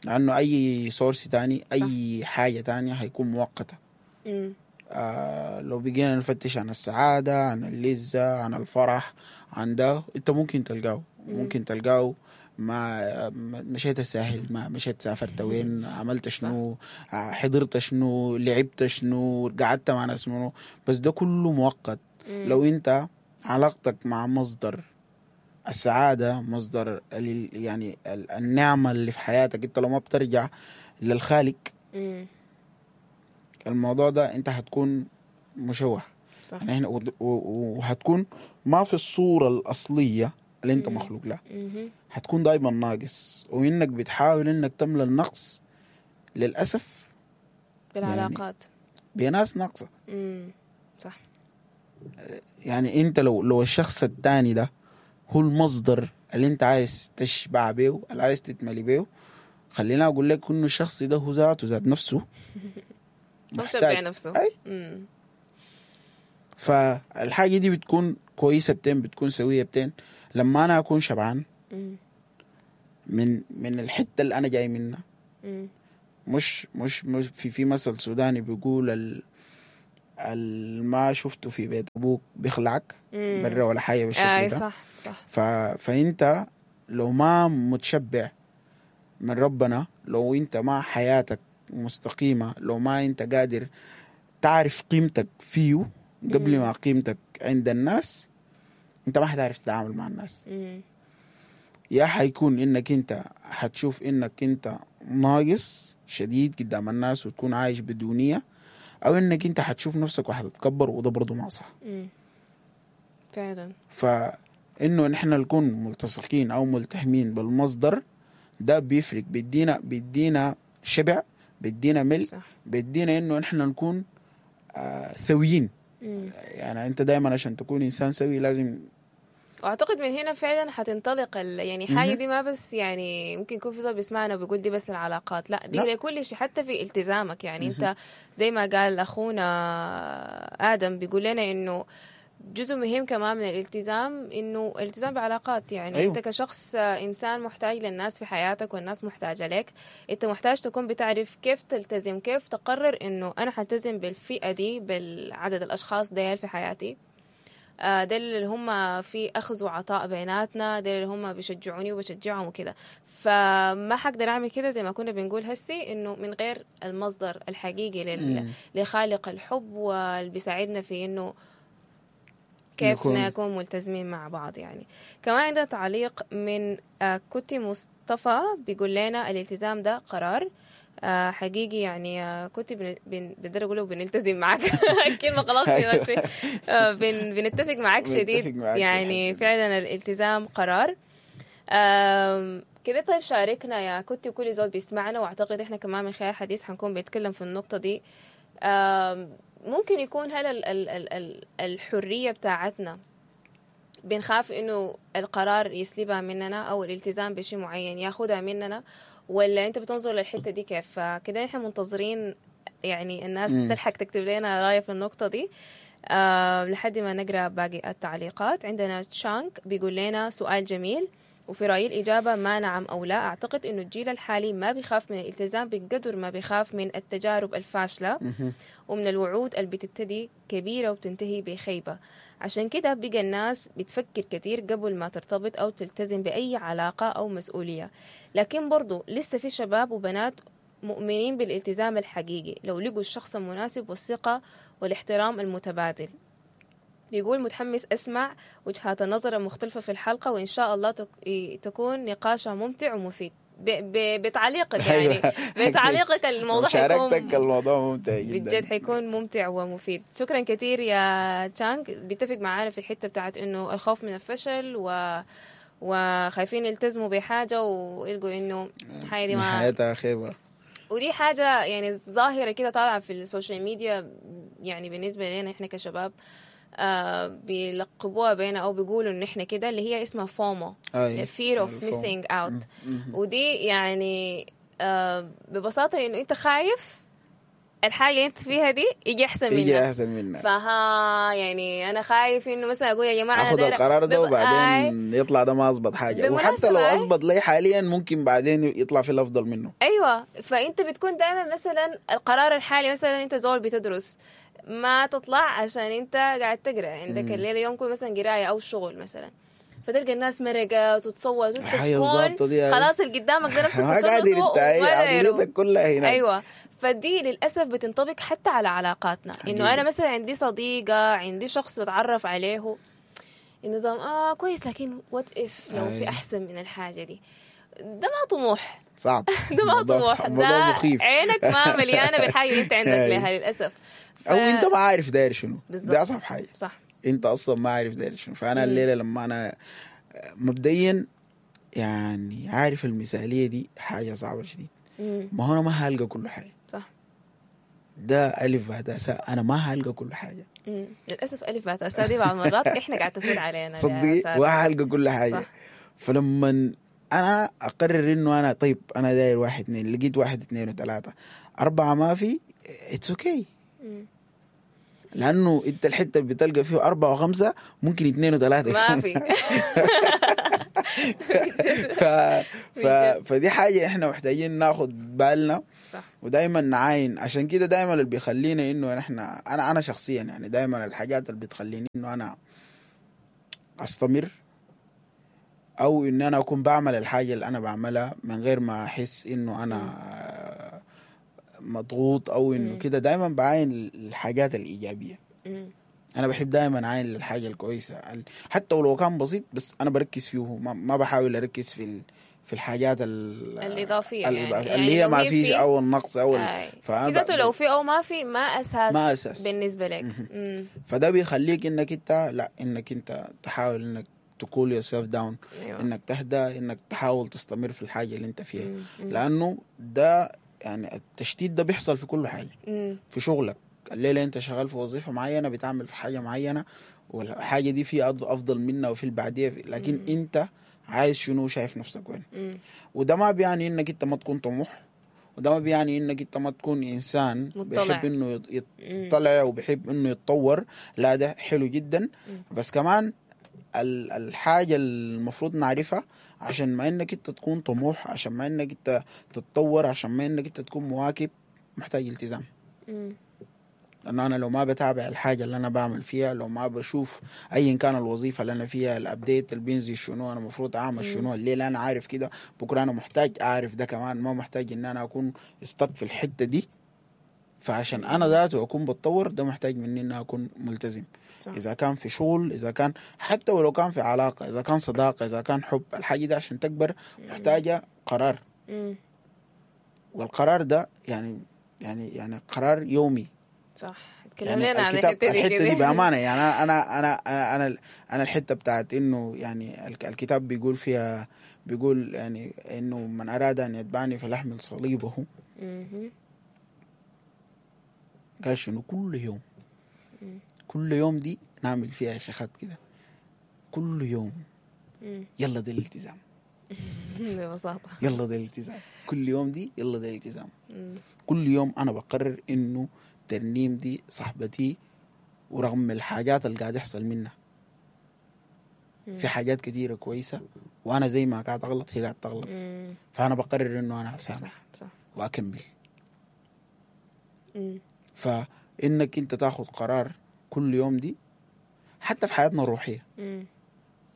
B: لأنه أي source تاني أي حاجة تانية هيكون مؤقتة. لو بقينا نفتش عن السعادة، عن اللذة، عن الفرح، عن ده، انت ممكن تلقاه، ممكن تلقاه ما مشيت الساحل، ما مشيت سافرت وين، عملت شنو، حضرت شنو، لعبت شنو، قعدت مع ناس منو، بس ده كله مؤقت. لو انت علاقتك مع مصدر السعادة، مصدر يعني النعمة اللي في حياتك، انت لو ما بترجع للخالق الموضوع ده انت هتكون مشوه.
A: صح.
B: يعني احنا وهتكون ما في الصورة الاصلية اللي انت مخلوق لها. هتكون دايما ناقص، وانك بتحاول انك تملى النقص للاسف
A: بالعلاقات
B: يعني بناس ناقصه.
A: صح.
B: يعني انت لو الشخص الثاني ده هو المصدر اللي انت عايز تشبع بيه، اللي عايز تتملي بيه، خلينا اقول لك انه الشخص ده هو ذاته ذات نفسه
A: محتاج نفسه.
B: أي؟ فالحاجه دي بتكون كويسة بتين، بتكون سويه بتين لما انا اكون شبعان من الحتة اللي انا جاي منها. مش مش مش في مثل سوداني بيقول ما شفته في بيت ابوك بيخلعك برا ولا حاجة بالشكل ده.
A: صح صح.
B: فانت لو ما متشبع من ربنا، لو انت ما حياتك مستقيمة، لو ما انت قادر تعرف قيمتك فيه قبل ما قيمتك عند الناس، انت ما حتعرف تتعامل مع الناس. يا حيكون انك انت حتشوف انك انت ناقص شديد قدام الناس وتكون عايش بدونية، او انك انت حتشوف نفسك وحتتكبر، وده برضو ما صح.
A: فعلا.
B: فانه نحن نكون ملتصقين او ملتحمين بالمصدر ده بيفرق، بيدينا شبع، بيدينا ملء، بيدينا انه نحن نكون ثويين. يعني انت دايما عشان تكون انسان سوي لازم،
A: واعتقد من هنا فعلا حتنطلق يعني حاجة دي ما بس يعني ممكن يكون في زول بيسمعنا وبيقول دي بس العلاقات، لا دي لكل شيء، حتى في التزامك. يعني انت زي ما قال اخونا ادم بيقول لنا انه جزء مهم كمان من الالتزام انه الالتزام بعلاقات. يعني أيوه. انت كشخص انسان محتاج للناس في حياتك والناس محتاجه لك، انت محتاج تكون بتعرف كيف تلتزم، كيف تقرر انه انا حلتزم بالفئه دي، بالعدد الاشخاص ديل في حياتي، ديل اللي هم في أخذ وعطاء بيناتنا، ديل اللي هم بيشجعوني وبشجعهم وكده. فما حقدر أعمل كده زي ما كنا بنقول هسي إنه من غير المصدر الحقيقي لخالق الحب واللي بيساعدنا في إنه كيف نكون ملتزمين مع بعض. يعني كمان عندنا تعليق من كوتي مصطفى بيقول لنا الالتزام ده قرار حقيقي. يعني كنت بقدر اقوله بنلتزم معك الكلمة خلاص ماشي، بنتفق معك شديد. يعني فعلا الالتزام قرار كده. طيب شاركنا يا كنت وكل زول بيسمعنا، واعتقد احنا كمان من خلال الحديث حنكون بنتكلم في النقطة دي. ممكن يكون هل الحرية بتاعتنا بنخاف انه القرار يسلبها مننا او الالتزام بشيء معين ياخدها مننا، ولا انت بتنظر للحتة دي كيف؟ فكده احنا منتظرين يعني الناس تلحق تكتب لنا رايه في النقطة دي لحد ما نقرا باقي التعليقات. عندنا تشانك بيقول لنا سؤال جميل، وفي رأيي الإجابة ما نعم أو لا. أعتقد إنه الجيل الحالي ما بيخاف من الالتزام بقدر ما بيخاف من التجارب الفاشلة ومن الوعود اللي بتبتدي كبيرة وبتنتهي بخيبة. عشان كده بقى الناس بتفكر كتير قبل ما ترتبط أو تلتزم بأي علاقة أو مسؤولية. لكن برضو لسه في شباب وبنات مؤمنين بالالتزام الحقيقي لو لقوا الشخص المناسب والثقة والاحترام المتبادل. بيقول متحمس أسمع وجهات النظر المختلفة في الحلقة، وإن شاء الله تكون نقاشها ممتع ومفيد. بتعليقك يعني بتعليقك الموضوع
B: حيكون، الموضوع ممتع جدا
A: بجد، حيكون ممتع ومفيد. شكرا كثير يا تشانك. بيتفق معانا في الحتة بتاعت إنه الخوف من الفشل وخايفين يلتزموا بحاجة ويلقوا إنه الحاجة دي ما
B: حياتها خيبة.
A: ودي حاجة يعني ظاهرة كده طالعة في ال social media، يعني بالنسبة لنا إحنا كشباب بيلقبوها بينا أو بيقولوا إن إحنا كده، اللي هي اسمها FOMO، fear of missing out. ودي يعني ببساطة إنه أنت خايف الحاجة اللي أنت فيها دي يجي أحسن منها،
B: يجي أحسن منها.
A: فها يعني أنا خايف إنه مثلا أقول يا جماعة
B: أخذ القرار ده وبعدين يطلع ده ما أزبط حاجة، وحتى لو أزبط لي حاليا ممكن بعدين يطلع في الأفضل منه.
A: أيوة، فأنت بتكون دائما مثلا القرار الحالي، مثلا أنت زول بتدرس ما تطلع عشان انت قاعد تقرا، عندك الليلة يوم كل مثلا قرايه او شغل مثلا، فتلقى الناس مرقت وتصوت وانت تكون خلاص اللي قدامك ده نفسك
B: تشرطه وما كلها هناك.
A: ايوه، فدي للاسف بتنطبق حتى على علاقاتنا. انه انا مثلا عندي صديقه، عندي شخص بتعرف عليه، النظام كويس، لكن what if لو في احسن من الحاجة دي. ده ما طموح،
B: صعب.
A: ده ما طموح، ده عينك ما مليانة بالحاجة اللي انت عندك لها للاسف.
B: او انت ما عارف داير شنو.
A: بالظبط.
B: ده اصعب حاجة.
A: صح.
B: انت اصلا ما عارف داير شنو. فانا الليلة لما انا مبدئيا يعني عارف المثالية دي حاجة صعبة شديد. ما هو انا ما هلقى كل حاجة.
A: صح.
B: ده الف باء تاء، انا ما هلقى كل حاجة.
A: للاسف الف باء تاء دي بعض المرات احنا قاعد تفوت علينا.
B: صدقي وهلقى كل حاجة. صح. فلما انا اقرر انه انا طيب انا داير 1 2، لقيت 1 2 و3 4 ما في، it's okay. لانه انت الحتة اللي بتلقى فيه 4 و5 ممكن 2 و3
A: ما في.
B: فدي حاجة احنا محتاجين ناخد بالنا.
A: صح.
B: ودايما نعاين. عشان كده دايما اللي بيخلينا انه نحن انا شخصيا يعني دايما الحاجات اللي بتخليني انه انا استمر او ان انا اكون بعمل الحاجة اللي انا بعملها من غير ما احس انه انا مضغوط او انه كده، دايما بعاين الحاجات الايجابية. انا بحب دايما اعاين للحاجة الكويسة حتى ولو كان بسيط، بس انا بركز فيه، ما بحاول اركز في الحاجات
A: الاضافية يعني
B: اللي هي ما فيش او النقص او
A: فاذا لو في او ما في ما اساس بالنسبة لك.
B: فده بيخليك انك انت لا انك انت تحاول انك ت cool yourself down. أيوة. انك تهدى، انك تحاول تستمر في الحاجة اللي انت فيها. لانه ده يعني التشتيت ده بيحصل في كل حاجة. في شغلك الليلة انت شغال في وظيفة معينة، بتعمل في حاجة معينة، والحاجة دي في افضل منها وفي البعدية، لكن انت عايز شنو، شايف نفسك وين. وده ما بيعني انك انت ما تكون طموح، وده ما بيعني انك انت ما تكون انسان مطلع. بيحب انه يطلع وبيحب انه يتطور، لا ده حلو جدا. بس كمان الحاجة المفروض نعرفها، عشان ما انك انت تكون طموح، عشان ما انك انت تتطور، عشان ما انك انت تكون مواكب، محتاج التزام. لانه انا لو ما بتابع الحاجة اللي انا بعمل فيها، لو ما بشوف ايا كان الوظيفة اللي انا فيها، ال update اللي بينزل شنو، انا المفروض اعمل شنو الليلة، انا عارف كده، بكره انا محتاج اعرف ده كمان، ما محتاج ان انا اكون stuck في الحتة دي. فعشان انا ذاته اكون بتطور، ده محتاج مني ان اكون ملتزم. صح. اذا كان في شغل، اذا كان حتى ولو كان في علاقة، اذا كان صداقه، اذا كان حب، الحاجة دي عشان تكبر محتاجه قرار. والقرار ده يعني يعني يعني قرار يومي.
A: صح. اتكلم لنا عن الحتة
B: دي بامانه. يعني انا انا انا انا انا الحتة بتاعت انه يعني الكتاب بيقول فيها، بيقول يعني انه من اراد ان يتبعني فليحمل صليبه. قال شنو؟ كل يوم. كل يوم دي نعمل فيها شيخات كده كل يوم. يلا ده الالتزام.
A: ببساطة
B: يلا ده الالتزام. كل يوم دي يلا ده الالتزام. كل يوم أنا بقرر إنه ترنيم دي صاحبتي، ورغم الحاجات اللي قاعد يحصل منها في حاجات كثيرة كويسة، وأنا زي ما قاعد أغلط هي قاعد تغلط، فأنا بقرر إنه أنا أسامح وأكمل. فإنك أنت تاخد قرار كل يوم دي، حتى في حياتنا الروحية،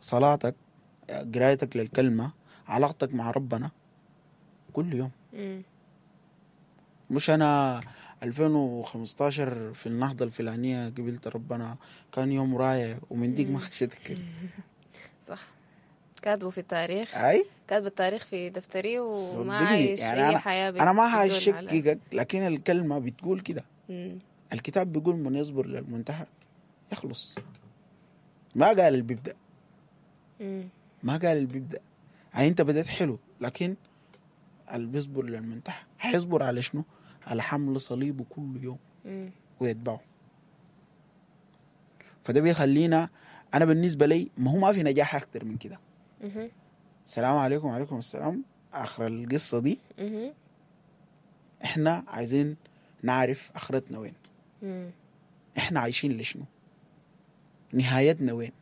B: صلاتك، قرايتك للكلمة، علاقتك مع ربنا كل يوم. مش أنا 2015 في النهضة الفلانية قبلت ربنا كان يوم رايع ومن ديك ما خشيت الكلمة.
A: صح، كاتبه في التاريخ.
B: أي
A: كاتب التاريخ في دفتري وما عايش
B: يعني
A: أي حياة.
B: أنا ما هشككك، لكن الكلمة بتقول كده. الكتاب بيقول من يصبر للمنتهى يخلص. ما قال اللي بيبدأ. ما قال اللي بيبدأ. يعني أنت بدأت حلو، لكن اللي بيصبر للمنتهى هيصبر على شنو؟ على حمل صليبه كل يوم ويتبعه. فده بيخلينا، أنا بالنسبة لي ما هو ما في نجاح أكتر من كده. السلام عليكم. وعليكم السلام. آخر القصة دي إحنا عايزين نعرف آخرتنا وين. إحنا عايشين لشنو؟ نهايتنا وين؟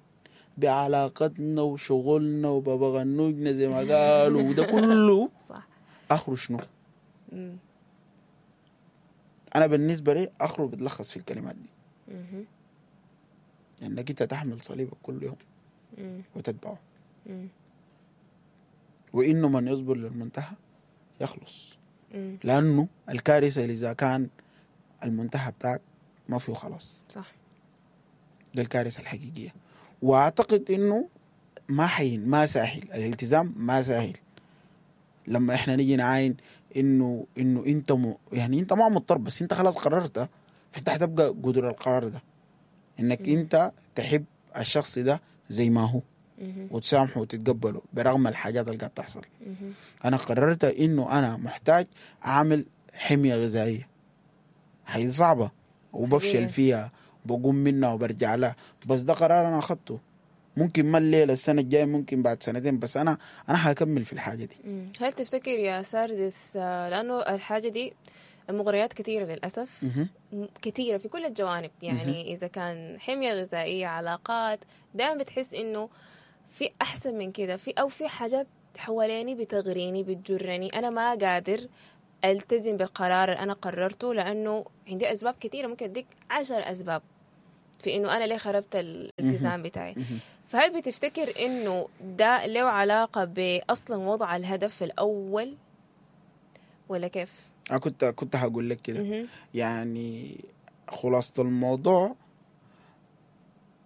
B: بعلاقتنا وشغلنا وبابا غنوجنا زي ما قالوا وده كله.
A: صح.
B: آخره شنو؟ أنا بالنسبة لي آخره بتلخص في الكلمات دي. إنك أنت تحمل صليبك كل يوم وتتبعه. وإنه من يصبر للمنتهى يخلص. لأنه الكارثة إذا كان المنتهى بتاعك ما فيه خلاص.
A: صح،
B: ده الكارثة الحقيقية. وأعتقد إنه ما حين ما سهل الالتزام، ما سهل لما إحنا نيجي نعاين إنه أنت يعني أنت ما مضطر، بس أنت خلاص قررت، فانت حتبقى قدر القرار ده، انك انت تحب الشخص ده زي ما هو وتسامحه وتتقبله برغم الحاجات اللي قاعد تحصل. انا قررت انه انا محتاج اعمل حمية غذائية، هي صعبة وبفشل فيها وبقوم منها وبرجع لها، بس ده قرار انا اخذته. ممكن ما الليلة، السنة الجاية، ممكن بعد سنتين، بس انا هكمل في الحاجة دي.
A: هل تفتكر يا ساردس، لانه الحاجة دي المغريات كثيرة للاسف، كثيرة في كل الجوانب، يعني اذا كان حمية غذائية، علاقات، دائما بتحس انه في احسن من كده، في او في حاجات حواليني بتغريني بتجرني، انا ما قادر التزم بالقرار اللي انا قررته لانه عندي اسباب كثيرة، ممكن اديك 10 اسباب في انه انا ليه خربت الالتزام بتاعي. فهل بتفتكر انه ده له علاقة باصلا وضع الهدف الاول ولا كيف؟
B: انا كنت هقول لك كده. يعني خلاصه الموضوع،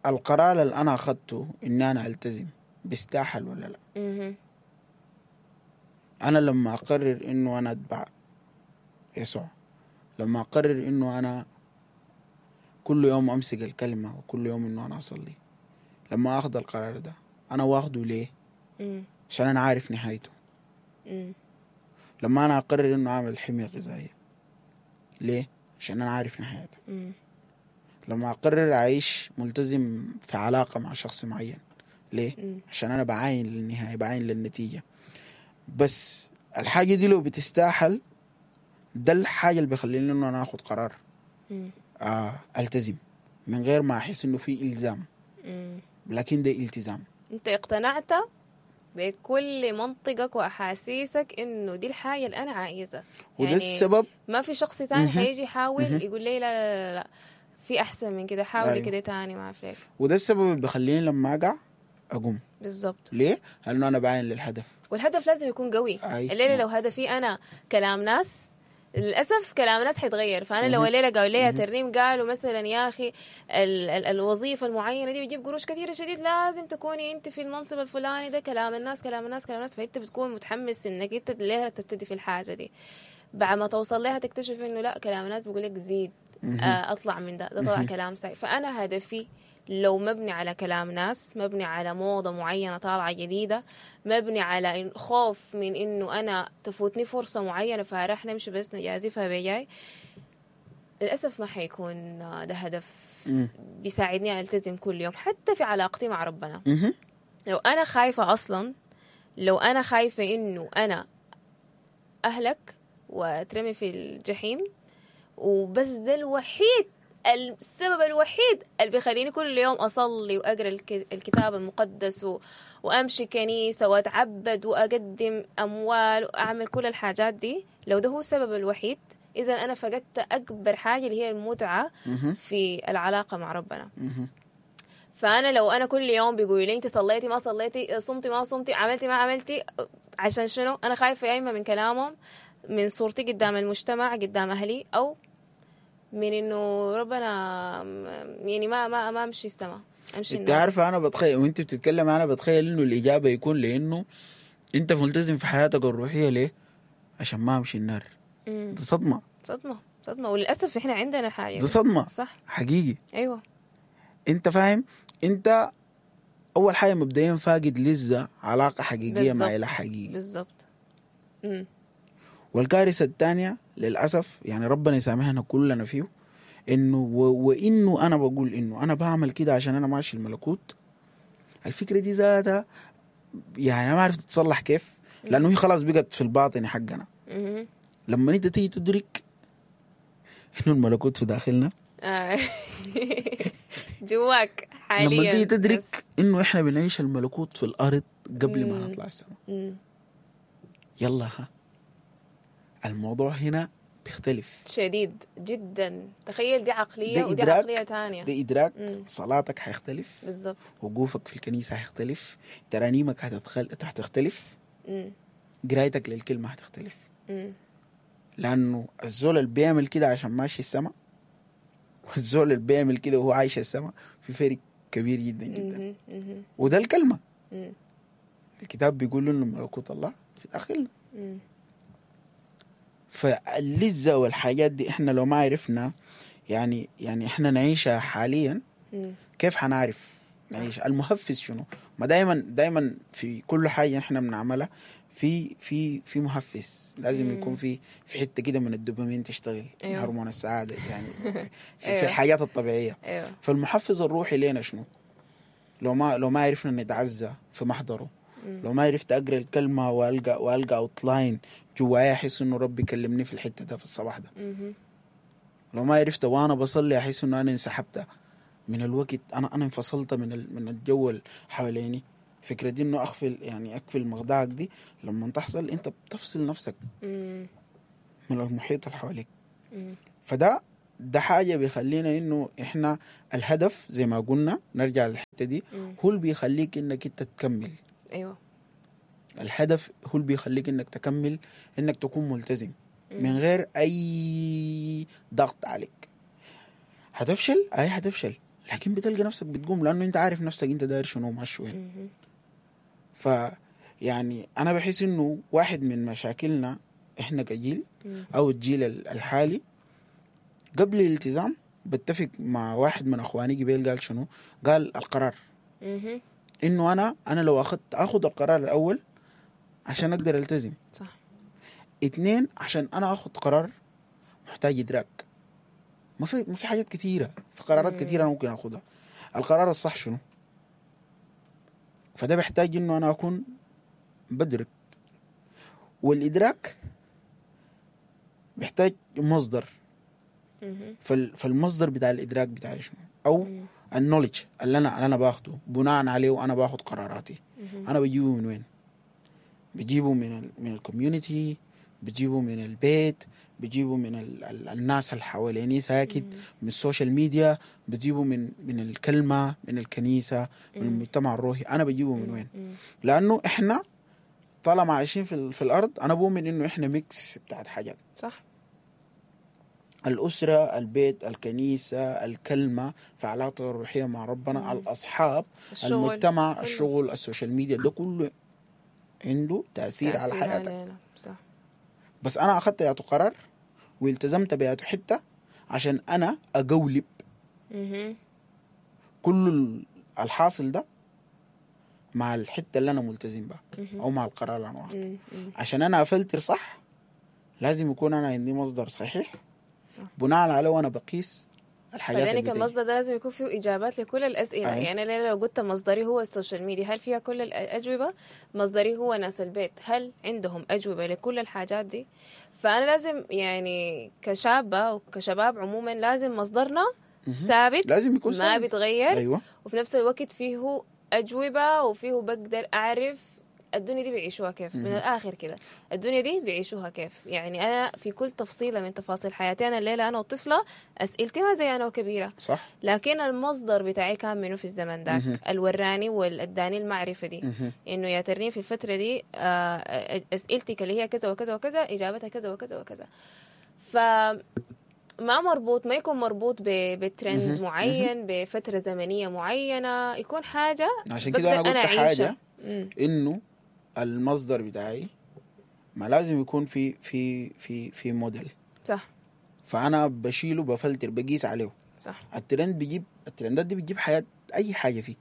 B: القرار اللي انا اخذته ان انا التزم بيستاهل ولا لا. انا لما اقرر انه انا اتبع يسوع، لما اقرر انه انا كل يوم امسك الكلمة وكل يوم انه انا اصلي، لما اخذ القرار ده انا واخده ليه؟ عشان انا عارف نهايته. لما انا اقرر انه اعمل حمية غذائية ليه؟ عشان انا عارف نهايته. لما اقرر اعيش ملتزم في علاقة مع شخص معين ليه؟ عشان انا بعاين للنهاية، بعاين للنتيجة. بس الحاجة دي لو بتستاهل، ده الحاجة اللي بيخليني انه انا اخد قرار التزم من غير ما احس انه في الزام. لكن ده التزام.
A: انت اقتنعت بكل منطقك واحاسيسك انه دي الحاجة اللي انا عايزها،
B: وده يعني السبب.
A: ما في شخص تاني حيجي يحاول يقول لي لا لا لا لا في احسن من كده، حاولي. أيوه. كده تاني ما اعرف ليك.
B: وده السبب اللي بخليني لما اقع اقوم.
A: بالضبط.
B: ليه؟ لانه انا بعين للهدف،
A: والهدف لازم يكون قوي. الليلة لو هدفي انا كلام ناس، للأسف كلام ناس حيتغير. فأنا لو الليلة قالوا لي ترنيم، قالوا مثلا يا أخي ال ال الوظيفة المعينة دي بتجيب قروش كثيرة شديد، لازم تكوني أنت في المنصب الفلاني ده، كلام الناس كلام الناس كلام الناس، فأنت بتكون متحمس إنك أنت ليه تبتدي في الحاجة دي. بعد ما توصل لها تكتشف إنه لا، كلام الناس بيقول لك زيد، أطلع من ده، ده طلع كلام سيء. فأنا هدفي لو مبني على كلام ناس، مبني على موضة معينة طالعة جديدة، مبني على خوف من إنه أنا تفوتني فرصة معينة فراح نمشي بس نجازفها بجاي، للأسف ما حيكون ده هدف بيساعدني ألتزم كل يوم حتى في علاقتي مع ربنا. لو أنا خايفة أصلا، لو أنا خايفة إنه أنا أهلك وأترمي في الجحيم، وبس ده الوحيد، السبب الوحيد اللي بيخليني كل يوم أصلي وأقرأ الكتاب المقدس وأمشي كنيسة وأتعبد وأقدم أموال وأعمل كل الحاجات دي، لو ده هو السبب الوحيد، إذا أنا فقدت أكبر حاجة اللي هي المتعة في العلاقة مع ربنا. فأنا لو أنا كل يوم بيقولوا لي أنت صليتي ما صليتي، صمتي ما صمتي، عملتي ما عملتي، عشان شنو؟ أنا خايفة يا إما من كلامهم، من صورتي قدام المجتمع، قدام أهلي، أو من انه ربنا يعني ما امشي السما، امشي.
B: انت عارفه انا بتخيل وانت بتتكلم، انا بتخيل انه الاجابة يكون لانه انت ملتزم في حياتك الروحية ليه؟ عشان ما امشي النار. دي صدمة
A: صدمة صدمة، وللاسف احنا عندنا حاجة
B: دي صدمة
A: صح
B: حقيقي.
A: ايوه
B: انت فاهم، انت اول حاجة مبدئيا فاقد لذة علاقة حقيقية مع اله حقيقي.
A: بالضبط.
B: والكارثة الثانية للأسف، يعني ربنا يسامحنا كلنا فيه، إنه وإنه أنا بقول إنه أنا بعمل كده عشان أنا ماشي الملكوت. الفكرة دي ذاتها يعني أنا ما عرفت تتصلح كيف، لأنه هي خلاص بقت في الباطن حقنا. لما أنت تيجي تدرك إنه الملكوت في داخلنا
A: جواك حاليا،
B: لما تيجي تدرك إنه إحنا بنعيش الملكوت في الأرض قبل ما نطلع السماء، يلا ها الموضوع هنا بيختلف
A: شديد جدا. تخيل دي عقلية ودي عقلية تانية،
B: ده إدراك. صلاتك حيختلف.
A: بالضبط.
B: وقوفك في الكنيسة حيختلف، ترانيمك هتختلف، قرايتك للكلمة هتختلف. لأنه الزول اللي بيعمل كده عشان ماشي السما، والزول اللي بيعمل كده وهو عايش السما، في فرق كبير جدا جدا. وده الكلمة. الكتاب بيقول إنه ملكوت الله في داخلنا. فاللذة والحاجات دي احنا لو ما عرفنا يعني احنا نعيشها حاليا. كيف حنعرف نعيش؟ المحفز شنو؟ ما دايما في كل حاجة احنا بنعملها في في في محفز، لازم يكون في حتة كده من الدوبامين تشتغل.
A: أيوه.
B: هرمون السعادة يعني في
A: أيوه.
B: الحاجات الطبيعية.
A: ايوه.
B: فالمحفز الروحي لينا شنو؟ لو ما عرفنا نتعزى في محضرة، لو ما عرفت اقرا الكلمة والقى outline جوايا احس انه ربي كلمني في الحتة ده في الصباح ده. لو ما عرفت وانا بصلي احس انه انا انسحبت من الوقت، انا انفصلت من الجو اللي حواليني. فكرة دي انه اقفل مخدعك دي لما تحصل انت بتفصل نفسك من المحيط اللي حواليك. فده حاجة بيخلينا انه احنا الهدف زي ما قلنا نرجع للحتة دي، هو اللي بيخليك انك انت تكمل.
A: ايوه.
B: الهدف هو اللي بيخليك انك تكمل، انك تكون ملتزم من غير اي ضغط عليك. هتفشل، اي هتفشل، لكن بتلقى نفسك بتقوم، لانه انت عارف نفسك انت داير شنو وماشي وين. ف يعني انا بحس انه واحد من مشاكلنا احنا كجيل او الجيل الحالي قبل الالتزام، بتفق مع واحد من اخواني قبل قال شنو؟ قال القرار. انه انا لو اخذ القرار الاول عشان اقدر التزم.
A: صح.
B: 2 عشان انا اخذ قرار محتاج ادراك. ما في حاجات كثيرة، في قرارات كثيرة انا ممكن اخذها. القرار الصح شنو؟ فده بيحتاج انه انا اكون بدرك، والادراك بيحتاج مصدر. فالمصدر بتاع الادراك بتاعي شنو؟ او ال knowledge اللي انا باخده بناء عليه وانا باخد قراراتي. انا بجيبه من وين؟ بجيبه من ال community، بجيبه من البيت، بجيبه من الناس اللي حواليني ساكت، من ال social media، بجيبه من الكلمة، من الكنيسة، من المجتمع الروحي. أنا بجيبه من وين؟ لأنه إحنا طالما عايشين في الأرض، أنا بؤمن إنه إحنا mix بتاعت حاجات.
A: صح.
B: الأسرة، البيت، الكنيسة، الكلمة، في علاقة الروحية مع ربنا، الأصحاب،
A: الشغل،
B: المجتمع،
A: كله.
B: الشغل، ال social media، ده كله عنده تأثير على حياتك.
A: علينا. صح.
B: بس أنا أخذت ياتو قرار والتزمت بياتو حتة عشان أنا أقولب كل الحاصل ده مع الحتة اللي أنا ملتزم بها أو مع القرار اللي أنا واخده. عشان أنا أفلتر صح لازم يكون أنا عندي مصدر صحيح بناء عليه وأنا بقيس الحاجات.
A: فذلك المصدر ده لازم يكون فيه إجابات لكل الأسئلة. يعني أنا لو قلت مصدري هو ال social media، هل فيها كل الأجوبة؟ مصدري هو ناس البيت، هل عندهم أجوبة لكل الحاجات دي؟ فأنا لازم يعني كشابة وكشباب عموما لازم مصدرنا ثابت،
B: لازم يكون ثابت،
A: ما بيتغير.
B: أيوة.
A: وفي نفس الوقت فيه أجوبة وفيه بقدر أعرف الدنيا دي بيعيشوها كيف. من الآخر كده الدنيا دي بيعيشوها كيف. يعني أنا في كل تفصيلة من تفاصيل حياتي، أنا الليلة أنا وطفلة أسئلتي ما زي أنا وكبيرة.
B: صح.
A: لكن المصدر بتاعي كان منه في الزمن ذاك، الوراني والأداني المعرفة دي، إنه يا ترني في الفترة دي أسئلتك اللي هي كذا وكذا وكذا إجابتها كذا وكذا وكذا. فما مربوط، ما يكون مربوط بترند معين، بفترة زمنية معينة، يكون حاجة.
B: عشان كده أنا قلت حاجة إنه المصدر بتاعي ما لازم يكون في في في في موديل.
A: صح.
B: فأنا بشيله، بفلتر، بقيس عليه.
A: صح.
B: الترند بيجيب، الترندات دي بتجيب حياة أي حاجة فيه.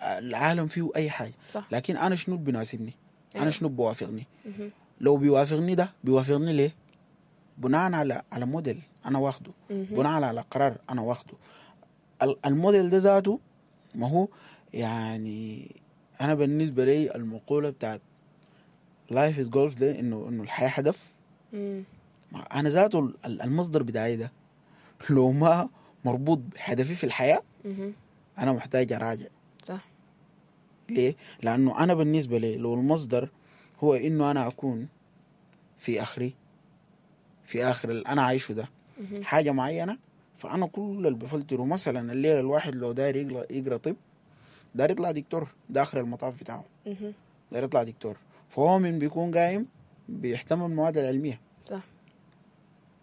B: العالم فيه أي حاجة.
A: صح.
B: لكن أنا شنو بيناسبني؟
A: أيوة.
B: أنا شنو بوافقني؟ لو بيوافقني ده بيوافقني ليه؟ بناء على موديل أنا واخده، بناء على قرار أنا واخده. الموديل ده ذاته ما هو يعني أنا بالنسبة لي المقولة بتاعت life is golf ده، إنه الحياة هدف. أنا ذاته المصدر بتاعي ده لو ما مربوط بهدفي في الحياة أنا محتاج أراجع.
A: صح.
B: ليه؟ لأنه أنا بالنسبة لي لو المصدر هو إنه أنا أكون في آخري، في آخر اللي أنا عايشه ده حاجة معينة، فأنا كل اللي بفلتره مثلا الليلة الواحد لو داير يقرأ طب، داير يطلع دكتور، ده آخر المطاف بتاعه، داير يطلع دكتور، فهو من بيكون قايم بيهتم بالمواد العلمية.
A: صح.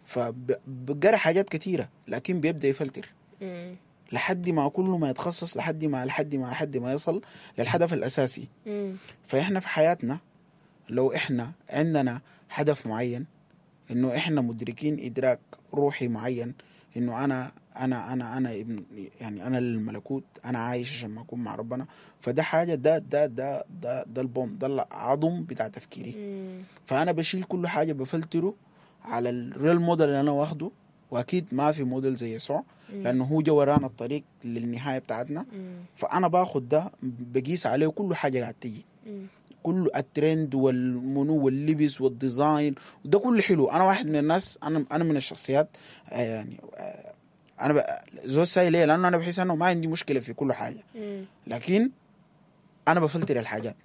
B: فبقرأ حاجات كثيرة لكن بيبدأ يفلتر لحد ما كل ما يتخصص، لحد ما يصل للهدف الأساسي. فإحنا في حياتنا لو إحنا عندنا هدف معين، إنه إحنا مدركين إدراك روحي معين انه انا انا انا انا ابن، يعني انا الملكوت، انا عايش عشان ما اكون مع ربنا. فده حاجة، ده ده ده ده ده ال bone، ده العظم بتاع تفكيري. فانا بشيل كل حاجة بفلتره على ال role model اللي انا واخده، واكيد ما في موديل زي يسوع لانه هو جا ورانا الطريق للنهاية بتاعتنا. فانا باخد ده بقيس عليه كل حاجة قاعد تيجي، كل الترند والمنو واللبس وال design وده كله حلو. انا واحد من الناس، انا من الشخصيات يعني انا زول ساي ليه؟ لانه انا بحس انه ما عندي مشكلة في كل حاجة، لكن انا بفلتر الحاجات.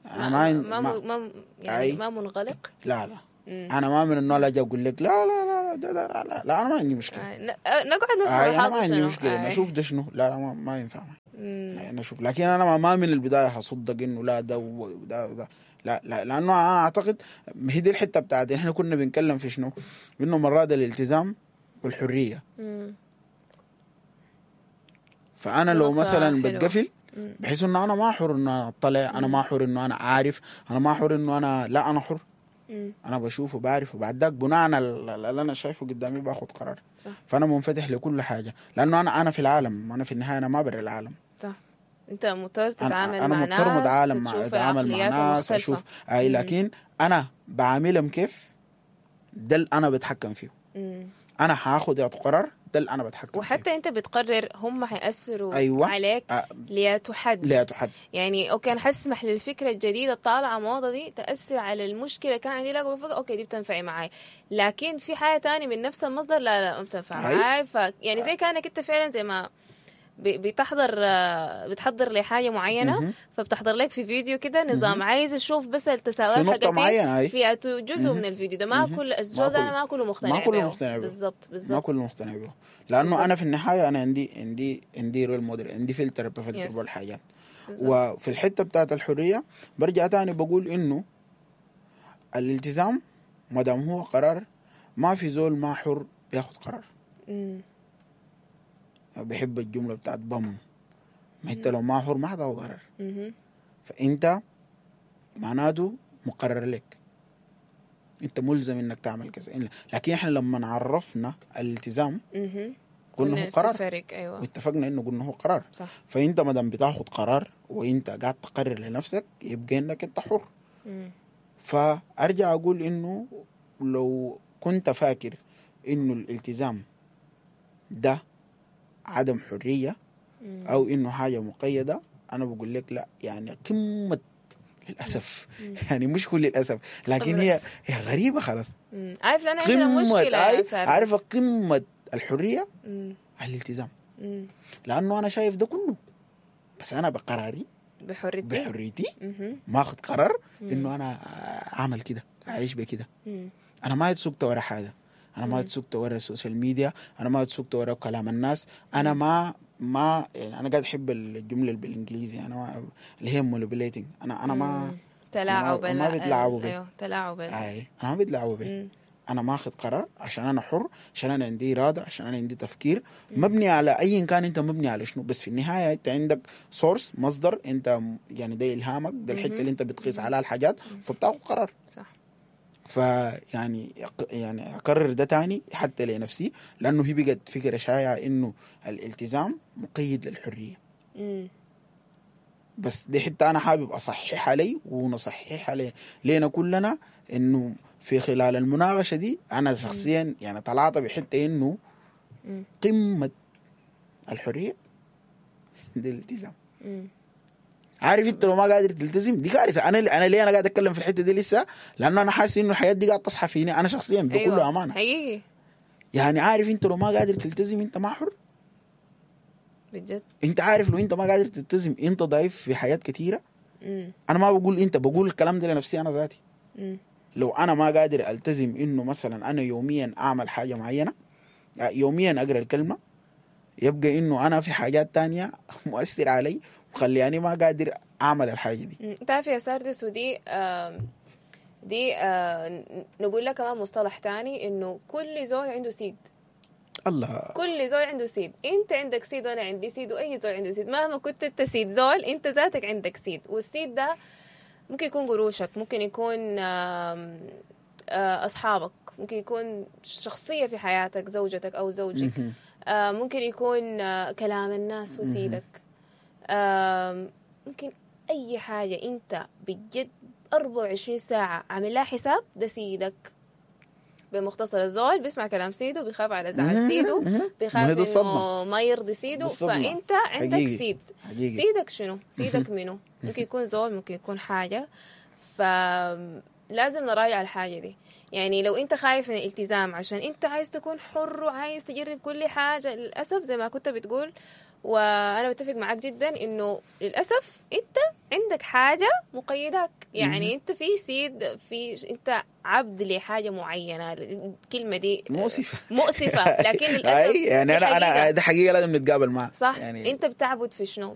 B: انا ما
A: ما يعني ما منغلق.
B: لا لا، انا ما من النوع اللي اجي اقول لك لا لا لا لا لا لا لا، انا ما عندي مشكلة.
A: نقعد نفهم،
B: انا ما عندي مشكلة نشوف ده شنو، لا لا ما ينفع انا اشوف. لكن انا ما من البداية هصدق انه لا ده وده وده، لا لا، لانه انا اعتقد هي دي الحتة بتاعت احنا كنا بنتكلم في شنو، انه مرات الالتزام والحرية. فانا لو مثلا بتقفل بحيث انه انا ما حر انه انا اطلع، انا ما حر انه انا عارف، انا ما حر انه انا لا، انا حر. انا بشوف وبعرف، وبعد ذاك بناء على اللي انا شايفه قدامي باخد قرار.
A: صح.
B: فانا منفتح لكل حاجة، لانه انا في العالم، انا في النهاية انا ما برا العالم.
A: صح، انت مضطر تتعامل
B: أنا
A: مع
B: مضطر
A: ناس،
B: اتعامل مع ناس، اشوف اي، لكن انا بعاملهم كيف ده اللي انا بتحكم فيه. انا هاخد قرار، ده اللي انا بتحكم.
A: وحتى
B: فيه.
A: انت بتقرر هم حيأثروا
B: أيوة.
A: عليك لتحد
B: لتحد.
A: يعني okay، انا حسمح للفكرة الجديدة الطالعه موضة دي تاثر على المشكلة كان عندي، لا بفكر okay دي بتنفعي معاي، لكن في حاجة تاني من نفس المصدر لا لا ما بتنفع معاي. ف يعني زي كانك انت فعلا زي ما بتحضر لحاجة معينة، فبتحضر لك في فيديو كده نظام عايز اشوف بس التساؤلات
B: حقتي
A: في جزء من الفيديو ده، ما كل الزول ده انا ما كله مقتنع
B: ما كله مقتنع
A: به. بالضبط بالضبط،
B: ما كله مقتنع به، لانه بالزبط. انا في النهاية انا عندي عندي role model، عندي فلتر بفلتر به الحاجات. وفي الحتة بتاعت الحرية برجع تاني بقول انه الالتزام ما دام هو قرار، ما في زول ما حر بياخد قرار. بحب الجملة بتاعت بام، ما انت لو ما حر ما حتاخد قرار. فانت معناته مقرر لك، انت ملزم انك تعمل كذا. لكن احنا لما عرفنا الالتزام قلنا هو قرار.
A: فرق. ايوه،
B: واتفقنا انه قلنا هو قرار.
A: صح.
B: فانت ما دام بتاخد قرار وانت قاعد تقرر لنفسك يبقى انك انت حر. فارجع اقول انه لو كنت فاكر انه الالتزام ده عدم حرية أو إنه حاجة مقيدة، أنا بقول لك لا، يعني قمة للأسف. يعني مش كل للأسف، لكن هي غريبة خلاص.
A: عارف لأن عندنا مشكلة،
B: عارفة قمة الحرية الالتزام. لأنه أنا شايف ده كله، بس أنا بقراري بحريتي ما أخذ قرار إنه أنا أعمل كده، أعيش بكده. أنا ما اتسوقت ورا حاجة، انا ما اتسوقت ورا ال social media، انا ما اتسوقت ورا كلام الناس، انا ما يعني انا قاعد احب الجملة بالانجليزي، انا ما اللي هي manipulating، انا ما
A: تلاعب،
B: ما بيتلاعبوا بي.
A: ايوه تلاعب،
B: اي انا ما بيتلاعبوا بي. انا ما اخذ قرار عشان انا حر، عشان انا عندي اراده، عشان انا عندي تفكير مبني على ايا كان، انت مبني على شنو، بس في النهاية انت عندك source، مصدر، انت يعني ده الهامك، ده الحتة اللي انت بتقيس عليها الحاجات، فبتاخذ قرار.
A: صح.
B: فيعني يعني اكرر ده تاني حتى لنفسي، لانه هي بقت فكرة شائعة انه الالتزام مقيد للحرية. بس دي حتة انا حابب اصححها لي ونصححها لينا كلنا، انه في خلال المناقشة دي انا شخصيا يعني طلعت بحته انه قمة الحرية دي الالتزام. عارف انت لو ما قادر تلتزم دي كارثة. انا ليه انا قاعد اتكلم في الحتة دي لسه؟ لانه انا حاسس انه الحياة دي قاعد تصحى فيني انا شخصيا بكل
A: أيوة.
B: امانه
A: حقيقي.
B: يعني عارف انت لو ما قادر تلتزم انت ما حر
A: بجد.
B: انت عارف لو انت ما قادر تلتزم انت ضعيف في حياة كثيرة. انا ما بقول انت، بقول الكلام ده لنفسي انا ذاتي. لو انا ما قادر التزم انه مثلا انا يوميا اعمل حاجة معينة، يوميا اقرا الكلمة، يبقى انه انا في حاجات تانية مؤثر علي وخليني ما قادر اعمل الحاجة دي.
A: انت عارف يا ساردس، ودي دي نقول لك كمان مصطلح تاني، انه كل زول عنده سيد.
B: الله،
A: كل زول عنده سيد. انت عندك سيد وانا عندي سيد واي زول عنده سيد. مهما كنت انت سيد زول، انت ذاتك عندك سيد. والسيد ده ممكن يكون قروشك، ممكن يكون اصحابك، ممكن يكون شخصية في حياتك، زوجتك أو زوجك. ممكن يكون كلام الناس وسيدك. ممكن أي حاجة أنت بجد 24 ساعة عامل لها حساب، ده سيدك. بمختصر، الزول بيسمع كلام سيده، بيخاف على زعل سيده، بيخاف
B: ما هي دي
A: انه
B: الصدمة.
A: ما يرضي سيده.
B: دي الصدمة.
A: فانت عندك سيد. سيدك شنو؟ سيدك منو؟ ممكن يكون زول، ممكن يكون حاجة. فلازم نراجع الحاجة دي. يعني لو انت خايف من الالتزام عشان انت عايز تكون حر وعايز تجرب كل حاجة، للأسف زي ما كنت بتقول، وانا بتفق معاك جدا، انه للاسف انت عندك حاجة مقيدك. يعني انت في سيد، في انت عبد لحاجة معينه. الكلمة دي
B: مؤسفة.
A: مؤسفه، لكن للاسف
B: اي يعني
A: دي
B: انا
A: حقيقة.
B: ده حقيقة لازم نتقابل معها.
A: صح.
B: يعني
A: يعني انت بتعبد في شنو؟